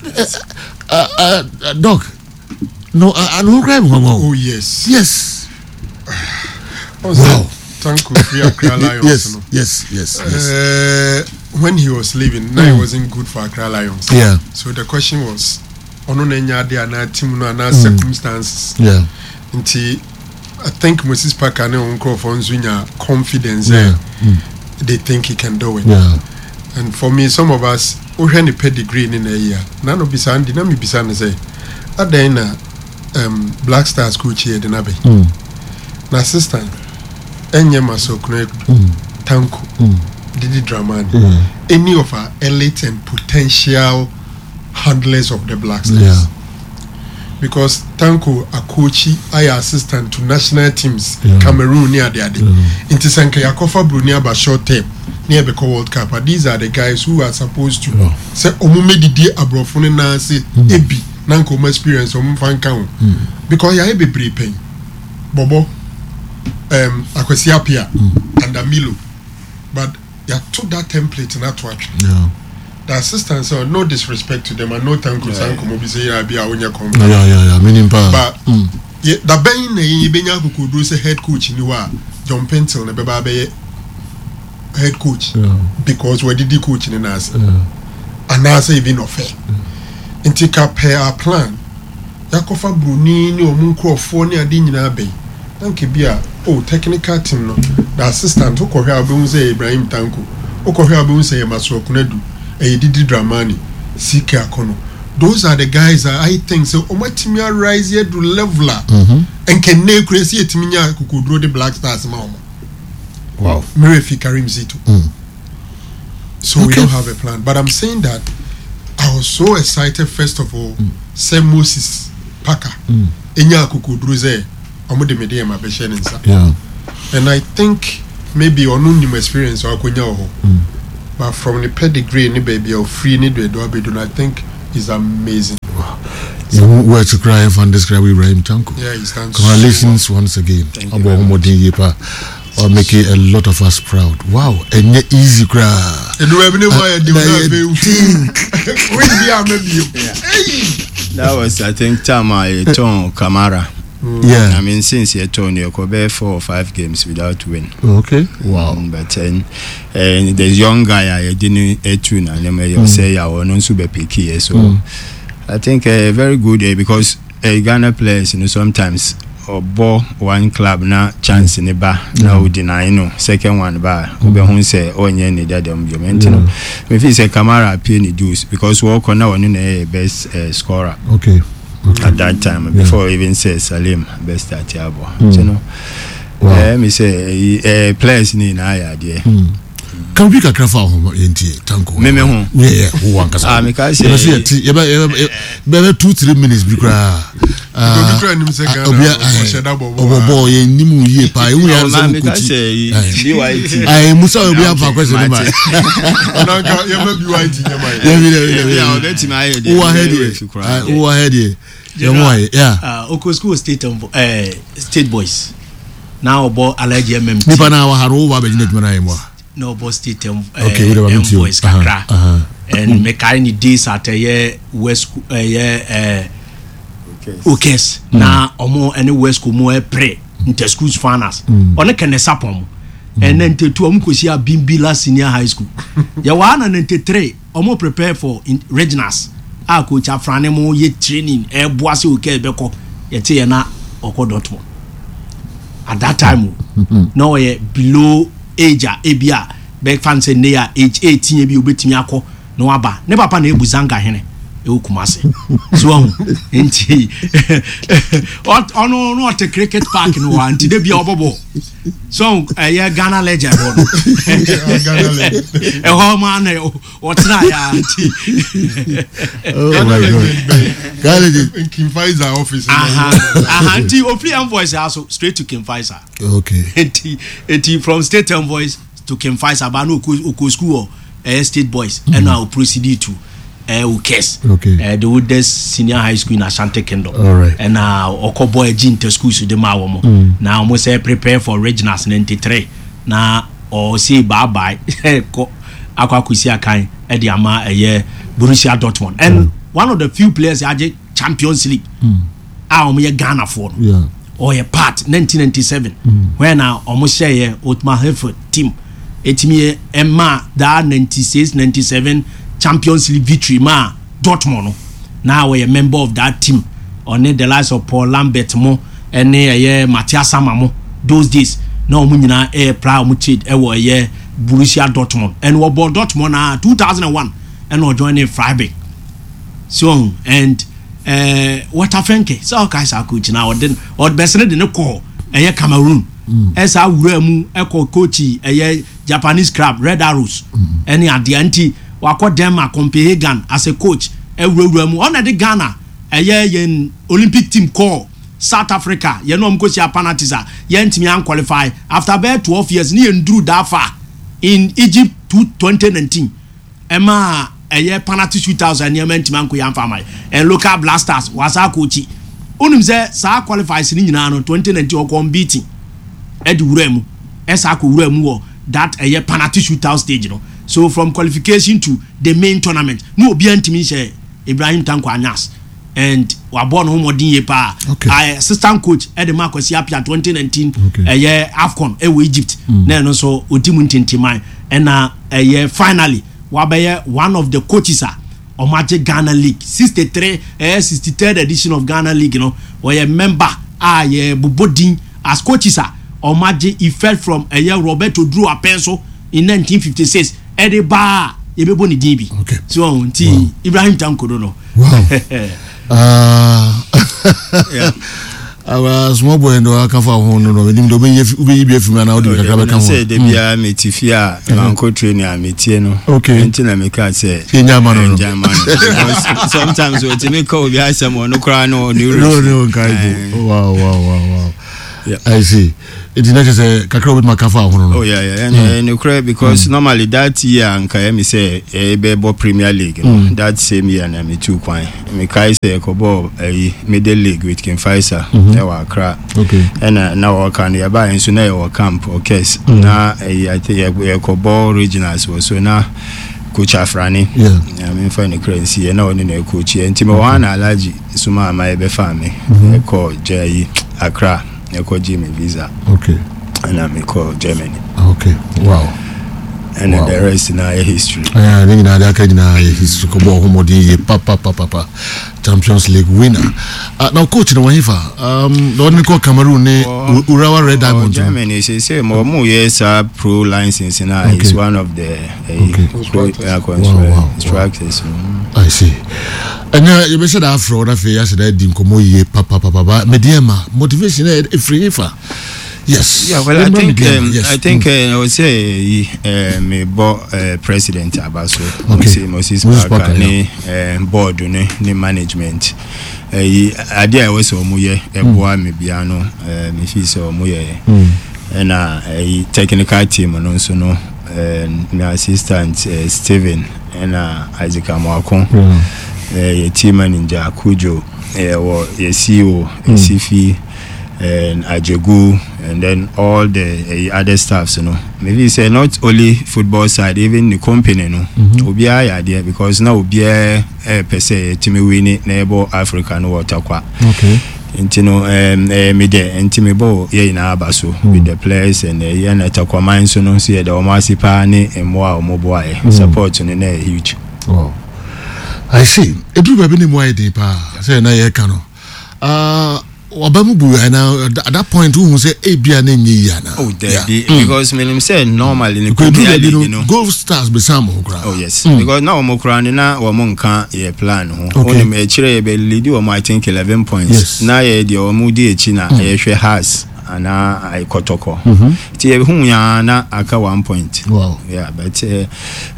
Eh, eh, eh, eh, doc no ano ho koraa mi nwanwa o Oh yes. yes Oh, sir, wow Tanko free Accra Lions. yes No. yes yes yes When he was leaving, now it wasn't good for Accra Lions. Yeah. So the question was, ono na nya ade ana team no ana circumstances. yeah Nti I think Moses Parker ne nkurɔfoɔ nso nya confidence. Yeah. Eh, They think he can do it. yeah And for me, some of us, wohwɛ ne pedigree ne na ayi a, na no bisa ndi na mebisa no sɛ, adɛn na um, Black Stars coach yɛ de no abɛ? Na assistant ɛnyɛ Masokuna Tanko, Didi Dramani, any of our elite and potential handlers of the Black Stars. yeah Because Tanko Akochi ayɛ assistant to national teams, Yeah. Cameroon ne ade ade. Nti sɛ nka yɛakɔfa Bruni aba short term ne yɛbɛkɔ World Cup a, these are the guys who are supposed to Yeah. sɛ ɔmo mɛdidi aborɔfo no nan ase ebi na nka ɔmo experience ɔmo mfa nka ho. Because yɛayɛ bebree pɛn. Bɔbɔ, um, Akwasi Appiah, under Milo. But yɛato that template no ato atwene. yeah The assistant sɛ no disrespect to them, I know Tanko saa nkɔmmɔ bi sɛ yɛ abi a wonyɛ confident. yeah yeah yeah meaning paa But yɛ dabɛn na yɛn yɛbɛnya akokoduro sɛ head coach ni hɔ a John Pentel na bɛba abɛyɛ head coach Yeah. because wɔdidi coach ne n'ase yeah anaasɛ even ɔfɛ nti ka per our plan yakɔfa broni ne ɔmo nkurɔfoɔ ne ade nyinaa bɛyi na nka bi a oh technical team no the assistant wokɔhwɛ a wobɛhu sɛ ɛyɛ Ibrahim Tanko wokɔhwɛ a wobɛhu sɛ ɛyɛ Masuaku Konadu ɛyɛ Didi Dramani CK Akɔnɔ those are the guys that I think sɛ ɔmo atumi arise aduru level a nkɛnɛ kura si yɛtumi nya akokoduro de Black Stars ma ɔmo. Wow. Mirefi Karim Zito. So we don't have a plan. But I'm saying that I was so excited first of all. Sɛ Moses Parker. Enya akokoduru sɛ ɔmo de Medeama bɛhyɛ ne nsa. Yeah. And I think maybe ɔno nim experience a ɔakɔnya wɔ hɔ. But from ne pedigree ne baabi a ɔfiri ne deɛ ɔabɛdu no, I think is amazing. Yɛn words koraa yɛmfa n describe Ibrahim Tanko. Yeah, he's done Congratulations so well. once again. Thank you Abɔ very ho mmɔden yie paa. Or make a lot of us proud. Wow, ɛnyɛ easy koraa. Ɛduru baabi ne mu ayɛ den Na na yɛ afei den. win bi a mɛbio. Hey! That was I think time a yɛtɔn Kamara. Yeah. I mean since yɛtɔn no yɛkɔ bɛyɛ 4 or 5 games without win. Okay. Wow. But then the young guy a yɛde no etu na nneɛma yɛ ɔsɛ yɛ a ɔno nso bɛ pick yɛ, so I think very good because Ghana players sometimes ɔbɔ one club na chance ne ba na o deny no, second one ba a wobɛhu sɛ ɔnyɛ ne dada mu biom. Nti no mefi sɛ Kamara pay ne dues because wɔkɔ na ɔno na ɛyɛ best scorer at that time before even say Salim best start abɔ. Nti no mi sɛ players ne nyinaa yɛ adeɛ. Kan bi kakra fa ho yɛntie, Tanko. Meme ho? Yeah, wo ankasa. Ah, meka sɛ yɛbɛ sɛ yɛte yɛbɛ yɛbɛ bɛbɛ 2-3 minutes bi koraa. Obi kura nim sɛ Ghana ɔhyɛ da bɔ bɔɔl. Ɔbɔ bɔɔl, yɛn nim yie paa, ehu yɛn sɛ mo koti ayi musa obi afa kwɛsɛ ne ma. Ɔnanka yɛmɛ BYT nyɛma yɛ. Yɛbi dɛ yɛbi dɛ ɔbɛtumi ayɛ deɛ. Wowɔ ha deɛ, wowɔ ha deɛ, yɛn mo ayɛ ya. Oko school State Boys na ɔbɔ Alhaji MMT. Nipa na wɔ ha no, wo ba abɛgyina adwuma na ayɛ mu a. Na ɔbɔ State Okay, wo de ba mi ti o. M Boys kakra and mekae ne days at ɛyɛ West, ɛyɛ Okes na ɔmo ɛne West mu ɛpere inter schools finals, ɔne Kɛnɛ Sapɔn mu ɛnɛ 92 ɔmo kɔsi Abimbila Senior High School. Yɛwɔ ha na 93 ɔmo prepare for regionals a coach Afrane mo yɛ training ɛboa sɛ Okes bɛkɔ. Yɛte yɛ na ɔkɔ Dortmund at that time o, na ɔyɛ below age a ebi a bɛfa n sɛ ne a age 18 ebi obetumi akɔ na waba. Ne papa na ebu zanga hene ɛwɔ Kumase so ɔho, nti ɔno no ɔte cricket park no hɔ a, nti de bia ɔbɔbɔ so ɛyɛ Ghana legend hɔ no ɛhɔ ma na ɔtena yɛ a, nti. Oh my God, Ghana legend. King Faisal office. Aha, nti ofiri M Voice aso straight to King Faisal. Nti from State M Voice to King Faisal ba na oko school wɔ ɛyɛ State Boys, ɛna o proceed to Okes, the oldest senior high school in Ashanti Kingdom. Ɛna ɔkɔ bɔ ɛgye inter schools de ma wɔn na wɔn sɛ prepare for regionals 93 na ɔsi bye bye kɔ akɔ akɔsi akan ɛde ama ɛyɛ Borussia Dortmund, and one of the few players agye Champions League a wɔn yɛ Ghanafoɔ no. Ɔyɛ part 1997 when a wɔn hyɛɛ Otmar Hitzfeld team etimi ɛma that 96 97 Champions League victory ma Dortmund no, na ɔyɛ member of that team, ɔne the likes of Paul Lambert mo ɛne ɛyɛ Matthias Sammer mo. Those days na wɔn nyinaa ɛyɛ pra wɔn trade ɛwɔ ɛyɛ Borussia Dortmund, and wɔbɔ Dortmund na 2001 ɛna ɔjoin ne Freiburg so, and Walter Fenke sɛ ɔka saa coach na ɔde ɔbɛsene de ne kɔ ɛyɛ Cameroon, ɛsa awura mu ɛkɔ coach ɛyɛ Japanese club Red Arrows ɛne adeɛ, nti wakɔ Denmark, Copenhagen as a coach, ɛwurawura mu. Ɔna de Ghana ɛyɛ yɛn Olympic team kɔɔ South Africa, yɛn a wɔn kɔ si penalties a yɛntumi anqualify after bɛyɛ 12 years ne yɛn duru that far in Egypt to 2019, ɛma ɛyɛ penalty shootouts a nneɛma ntumi anko yɛn afa ama yɛ. And local Black Stars wasa akɔkyi onim sɛ saa qualifiers ne nyinaa no, 2019 ɔkɔ unbeaten ɛde wura mu, ɛsa akɔ wura mu wɔ that ɛyɛ penalty shootout stage no. So from qualification to the main tournament ne obiara ntumi nhyɛ Ibrahim Tanko Anyas, and wabɔ ne ho mmɔden yie paa. Assistant coach ɛde ma Akwasi Appiah 2019 ɛyɛ AFCON ɛwɔ Egypt na ɛno nso odi mu ntintiman, ɛna ɛyɛ finally wabɛyɛ one of the coaches a ɔmo agye Ghana League 63, ɛyɛ 63rd edition of Ghana League no. Ɔyɛ member a yɛ bobɔ din as coaches a ɔmo agye effect from ɛyɛ Roberto Duro Apenso in 1956 ɛde baa yɛbɛbɔ ne din bi so nti Ibrahim Tanko no. Wow. Awa small boy no aka fa ho no no menim de wobɛyi wobɛyi bi afiri mu anaa wode bi kakra bɛka ho. Sɛ da biara mete fie a mankɔ training a metie no. Okay. Nti na meka sɛ yɛnya ma no no. Yɛnya ma no. Because sometimes wɔtumi ka obi asɛm ɔno koraa no ɔne werɛ. No no nkae po. Wow wow wow wow. Yeah. I see. Nti na kyerɛ sɛ kakra wobɛtumi aka fa ho no. Oh yeah yeah. Ɛne mm. nokorɛ because mm. normally that year nka yɛ me sɛ ɛbɛbɔ Premier League no. Mm. That same year na metu kwan. Mekae sɛ yɛkɔbɔɔ ɛyi middle league with King Faisal mhm. ɛwɔ Accra. Okay. Ɛna na wɔka no yɛbaeɛ nso na yɛwɔ camp Orkes. Mm. Na ɛyi ate yɛkɔbɔ regionals wɔ so na coach Afrane. Yeah. Na memfa ne kra nsi yɛ na ɔne na ɛcoach yɛ. Nti mewɔ hɔ na Alhaji soma ama yɛbɛfaa me. Mhm. Ɛkɔ gya yi Accra ɛkɔgye me visa. Okay. Ɛna mekɔ Germany. Okay. Wow. ɛna wow. the rest na yɛ history. ɛɛ ne nyinaa de aka nyinaa yɛ history kɔ bɔ ɔho mɔden yie papapapapa champions league winner uh, na coach na wɔn hefa um, na ɔne kɔ cameroon ne urawa red diamonds. germany sɛ sɛ ma wɔn yɛ saa pro license na okay. is one of the uh, okay. pro, uh, wow, wow, instructors. Wow. I see. ɛnna yɛbɛhyɛ da afrɛ wɔn afei yɛahyɛ da adi nkɔmɔ yie papapapa mediama motivation ɛfiri hefa. Yes. Yeah, well, I think um, yes. I think mm. uh, I would say uh, me bo uh, president Abaso, okay. Moses, Moses Parker, ne uh, board ne ne management. Eh, ade a ɛwɔ sɛ wɔn yɛ ɛboa me bia no eh, me fi sɛ wɔn yɛ ɛna eh, technical team no nso no eh, me assistant eh, Steven ɛna Isaac Amoako eh, yɛ team manager Kujo yɛwɔ yɛ CEO Esifi. And Ajegu and then all the uh, other staffs you know maybe say not only football side even the company no mm-hmm. obiara yɛ adeɛ because na obiara ɛpɛ sɛ yɛtumi wini na yɛbɔ Africa no wɔ takwa okay. nti no ɛɛ eh, mi dɛ nti mi bɔ yɛ nyinaa aba so mm. with the players and ɛyɛ na takwaman nso no nso yɛ dɛ wɔn ase paa ne mmoa a wɔn boa yɛ mm. support no na yɛ huge. Wow. I see. Eduru baabi ne mu ayɛ den paa sɛ na yɛka no. Ah, waba mu bu ana at that point wohu sɛ ebia na ɛnyɛ yie ana. Oh dabi mm. because menim sɛ normally ne Premier League no Gold Stars bɛsan mo ho koraa. Oh yes mm. because na wɔn koraa no na wɔn nka yɛ plan ho. Okay. Wonim akyire yɛ bɛ lead wɔn I think 11 points. Yes. Na yɛ deɛ wɔn di akyi na yɛhwɛ Hearts anaa kɔtɔkɔ. Nti yɛ hu ya na aka one point. Wow. Yeah but uh,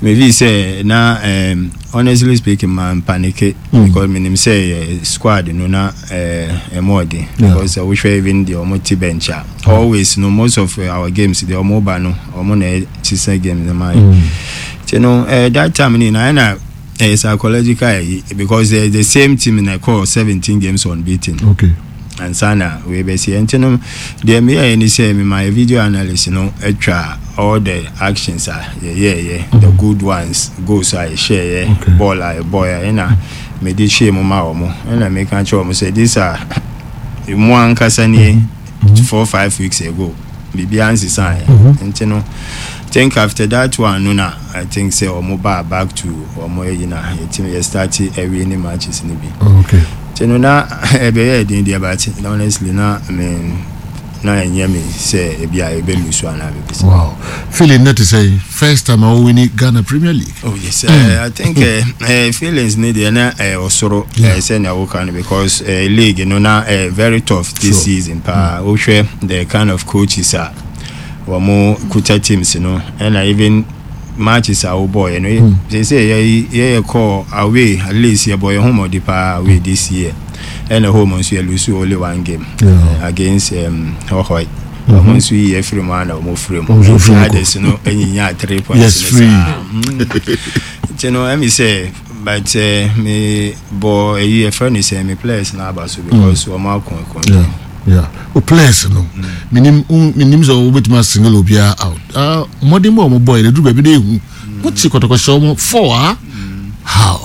maybe sɛ na um, honestly speaking man panic. Mm. Because menim sɛ yɛ squad no na ɛmu ɔden. Because sɛ wohwɛ even deɛ ɔmo te bench a always no most of our games deɛ ɔmo ba no ɔmo na ɛsesa games no ma yɛ. Nti no that time no nyinaa ɛna ɛyɛ psychological ɛyi because the same team na ɛkɔɔ 17 games unbeaten. Okay. Ansa na wei bɛsi. Nti no deɛ meyɛɛ ne sɛ mema yɛ video analyst no atwa all the actions a yɛyɛɛyɛ, the good ones, goals a yɛhyɛɛyɛ, ball a yɛbɔɔyɛ ɛna mede hyɛɛ mu ma wɔn. Ɛna meka kyerɛ wɔn sɛ these are mo ankasa nie 4-5 weeks ago biribiara nsesaeɛ. Nti no think after that one no na I think sɛ wɔn baa back to wɔn ayi na yɛtumi yɛ start awie ne matches no bi. Okay. Nti no na ɛbɛyɛ den deɛ but honestly na me na ɛnyɛ me sɛ ebi a ebe lusu anaa biribi saa. Wow. Feeling na te sɛ first time a wɔwini Ghana Premier League. Oh yes, I think feelings ne deɛ na ɔsoro sɛ nea woka no because league no na very tough this season paa. Wohwɛ the kind of coaches a wɔn kuta teams no ɛna even matches a wobɔɔyɛ no sɛ sɛ yɛyɛ kɔɔ away at least yɛbɔ yɛn ho mmɔde paa away this year ɛna home nso yɛ lose only one game against Hohoe wɔn nso yi yɛ firi mu ana wɔn firi mu nti others no nyinya 3 points yes free nti no ɛmi sɛ but me bɔ ɛyi yɛfrɛ no sɛ me players na aba so because wɔn ako ɛkɔn. Yeah. O players no. Minim minim sɛ wobɛtumi asingle obiara out. Ah, mmɔden bɔ ɔmo bɔ yɛ duru baabi na ehu. Mo ti kɔtɔkɔhyɛ ɔmo four ah. How?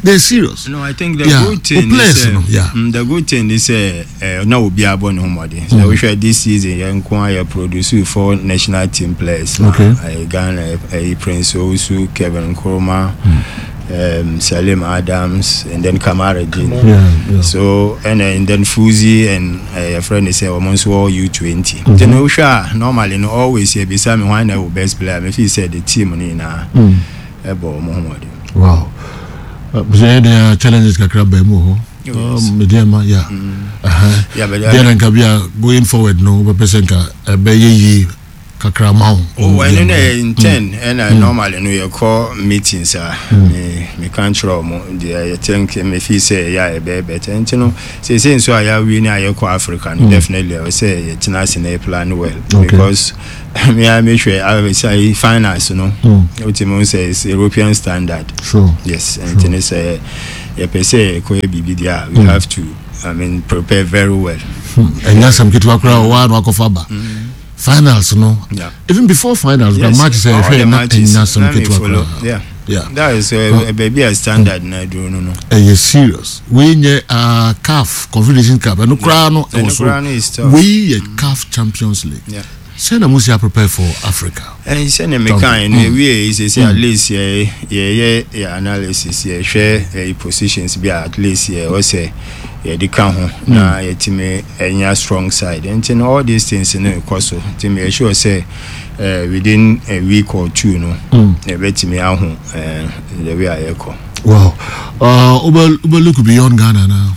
They're serious. No, I think the good thing players is no, yeah. The good thing is na obiara bɔ ne ho mmɔden. So we share this season yɛn nko a yɛ produce 4 national team players. Okay. Ghana, Prince Owusu, Kevin Nkrumah, Salim Adams, and then Kamara Jin. Yeah. So and then Fuzi and your friend is almost all U20. Then we sure normally no always here beside me why na best player. Me feel say the team ni na ebo mo ho. Wow. But there are challenges kakra ba mu ho. Medeama yeah. Deɛ na nka bi a going forward no wobɛpɛ sɛ nka ɛbɛyɛ yie kakra ma wo. Oh, ɛno na ɛyɛ in ten ɛna normally no yɛkɔ meetings a me meka nkyerɛ ɔmo deɛ yɛ think me feel sɛ ɛyɛ a ɛbɛyɛ better nti no seesei nso a yɛawie ne a yɛkɔ Africa no definitely ɛwɔ sɛ yɛtena ase na yɛ plan well because me a mehwɛ sɛ finance no wotumi hu sɛ it's European standard sure. yes nti ne sɛ yɛpɛ sɛ yɛkɔyɛ biribi deɛ a we have to I mean prepare very well. Ɛnyɛ asɛm ketewa koraa ɔwɔ ano akɔfa ba. Finals no. Yeah. Even before finals, yes. match sɛ ɛhwɛ na ɛnyɛ asɛm ketewa koraa. Yeah. Yeah. That is uh, baabi a standard na aduro no no. Ɛyɛ serious. Wei nyɛ uh, CAF Confederation Cup. Ɛno koraa no ɛwɔ so. Wei yɛ CAF Champions League. Yeah. Sɛ na mo si prepare for Africa. Ɛn sɛnea mekae no yɛwiee yi seesei at least yɛ yɛyɛ yɛ analysis yɛhwɛ ɛyi positions bi a at least yɛ ɛwɔ sɛ yɛde ka ho na yɛtumi anya strong side nti no all these things no ɛkɔ so nti meyɛ sure sɛ eh, within a week or two no yɛbɛtumi ahu eh, the way a yɛkɔ. Wow. Uh, wobɛ wobɛ look beyond Ghana now.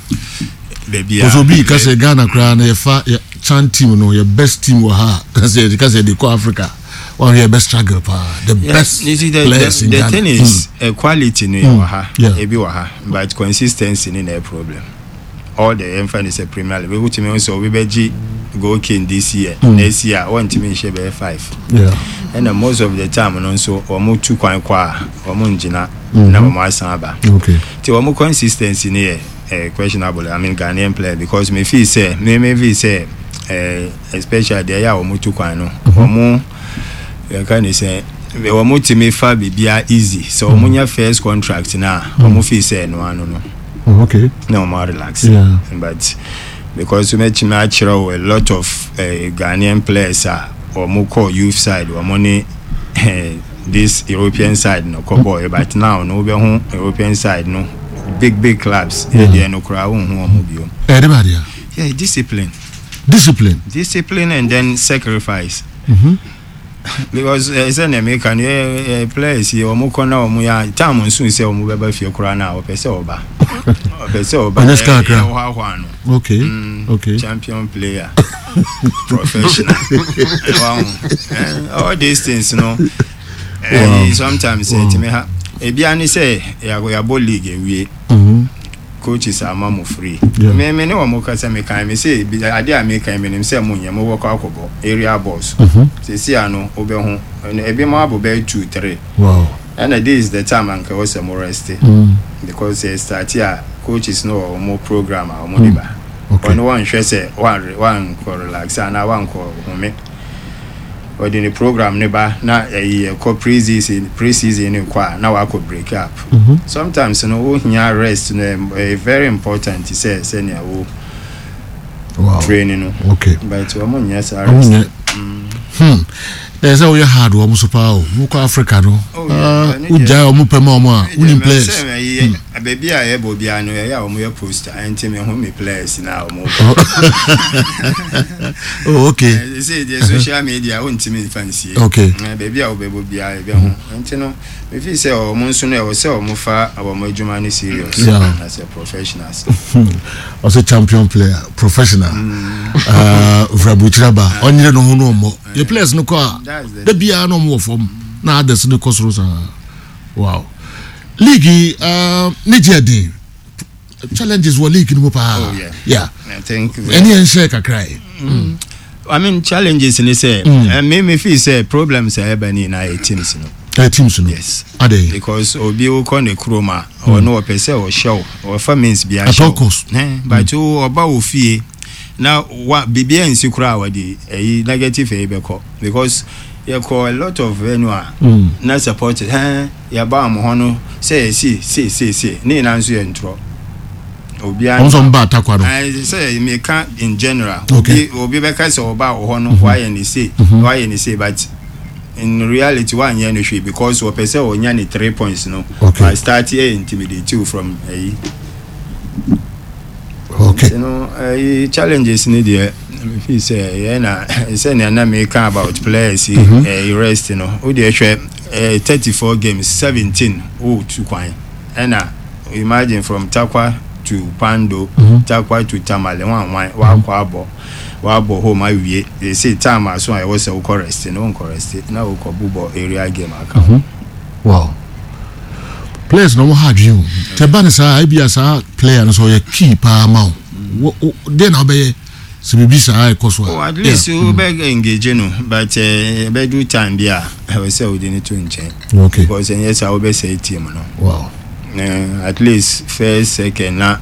Baabi a. Ɔsɛ obi ka sɛ Ghana koraa no yɛfa yɛ Chan team no yɛ best team wɔ ha a sɛ yɛde ka sɛ yɛde kɔ Africa wɔn yɛ best struggle paa the yeah, best you see, the, players the, in the Ghana. thing is mm. uh, quality no yɛ wɔ ha ebi wɔ ha but consistency ni na yɛ problem all the yɛn fa ni sɛ Premier League wotumi sɛ obi bɛ gye goal king this year mm. next year wɔntumi nhyɛ bɛyɛ 5 ɛna most of the time no nso wɔn tu kwan kɔ a wɔn ngyina na wɔn asan aba ti wɔn consistency ni yɛ. eh, questionable I mean Ghanaian player because me feel sɛ me me feel sɛ eh, especially deɛ ɛyɛ a wɔn tu kwan no wɔn yɛka ne sɛ wɔn tumi fa biribiara easy sɛ wɔn nya first contract na wɔn feel sɛ ɛno ano no Oh, okay. na wɔn relax Yeah. but because mɛtumi akyerɛ wo a lot of eh, Ghanaian players a wɔn kɔ youth side wɔn ne eh, this European side no kɔ bɔɔl but now no wobɛhu European side no big big clubs yɛ deɛ no koraa wonhu wɔn bio. Ɛyɛ de ba deɛ. Yeah, discipline. Discipline. Discipline and then sacrifice. Mm -hmm. Because eh, sɛ nea meka no yɛ eh, players yi wɔn kɔ na wɔn yɛ time nso sɛ wɔn bɛba fie koraa na wɔpɛ sɛ ɔba ɔpɛ sɛ ɔba ɔnyɛ sika kakra yɛ hoahoa no. Okay. Mm, okay. Champion player. Professional. Wow. Eh, all these things no. Eh, wow. Sometimes eh, wow. ha. Ebi ani sɛ yɛabɔ league awie. Mm-hmm. Coaches ama mo free. Yeah. Me me ne wɔn kasa me kan me se ade a me kan me nim sɛ mo nyɛ mo wɔ kɔ akɔbɔ area balls. Mm-hmm. Sisi ano wobɛho ebi mo abɔ bɛyɛ 2 3. Wow. Ɛna this is the time anka ɛwɔ sɛ mo rest. Mm. Because sɛ start a coaches no wɔ wɔn program a wɔn de ba. Okay. Ɔno wɔnhwɛ sɛ wan wankɔ relax anaa wankɔ home. Ɔde ne program ne ba na ɛyi ɛkɔ pre-season pre-season ne kɔ a na wakɔ break up. Mm -hmm. Sometimes no wo hia rest no ɛyɛ very important sɛ sɛnea wo wow. training no. Okay. But wɔn nyɛ saa rest. Wɔn nyɛ. Hmm. Na ɛsɛ woyɛ hard wɔn so paa o. Wokɔ Africa no. Oh, yeah. Ah, wogyae wɔn pɛ ma wɔn a wonim players. Sɛ ɛyɛ baabi a yɛbɔ biara no ɛyɛ a wɔn yɛ poster ɛnti me ho me players na wɔn bɔ. Oh, okay. Sɛ deɛ social media wontumi nfa nsie. Okay. Baabi a wobɛbɔ biara yɛbɛho nti no mefi sɛ wɔn nso no ɛwɔ sɛ wɔn fa wɔn adwuma no serious Yeah. as a professionals. Ɔsɛ champion player professional. Ofura burukyira ba ɔnyere ne ho no ɔmmɔ. Yɛ players no kɔ a da biara na ɔmo wɔ fam na others no kɔ soro saa. Wow. League yi uh, ne gye ɛden. Challenges wɔ league no mu paa. Oh, yeah. Yeah. I think Ɛne yɛn hyɛ kakra yi. I mean challenges ni sɛ mm. me me feel sɛ problems a ɛba ni na yɛ teams no. Ɛyɛ teams no. Yes. Adɛn. Because obi wokɔ ne kurom a ɔno ɔpɛ sɛ ɔhyɛ wo ɔfa means bi At all ahyɛ wo. cost. Eh, but wo ɔba wo fie na wa biribi ansi koraa a wɔde ɛyi negative ɛyi bɛkɔ because yɛkɔ a lot of venue a na support hɛn yɛba wɔn hɔ no sɛ yɛsi sei sei sei ne nyinaa nso yɛ ntorɔ. Obiara Wɔn nso wɔn ba atakwa no. Ayi sɛ meka in general. Okay. Obi obi bɛka sɛ ɔba wɔ hɔ no wayɛ ne sei wayɛ ne sei but in reality wanyɛ no hwee because wɔpɛ sɛ ɔnya ne 3 points no. Okay. Wa start ɛ intimidate you from ɛyi. Okay. Nti no ɛyi challenges ni deɛ me feel sɛ yɛn na sɛnea na meka about players yi ɛyi rest no o deɛ hwɛ ɛɛ 34 games 17 o tu kwan ɛna imagine from Tarkwa. to Kpando, Tarkwa to Tamale, hwan hwan, wakɔ abɔ, wabɔ home awie, seesei time aso a ɛwɔ sɛ wokɔ rest no, wonkɔ rest na wokɔ bobɔ area game aka ho. Wow. Players na wɔn ha adwene o. Tɛ ba ne saa, ebi a saa player no sɛ ɔyɛ key paa ma wo. Deɛ na wobɛyɛ sɛ biribi saa ɛkɔ so a. Oh, at least wobɛ engage no, but ɛbɛdu time bi a ɛwɔ sɛ wode no to nkyɛn. Because ɛnyɛ saa wobɛsɛe team no. Wow. At least first, second na.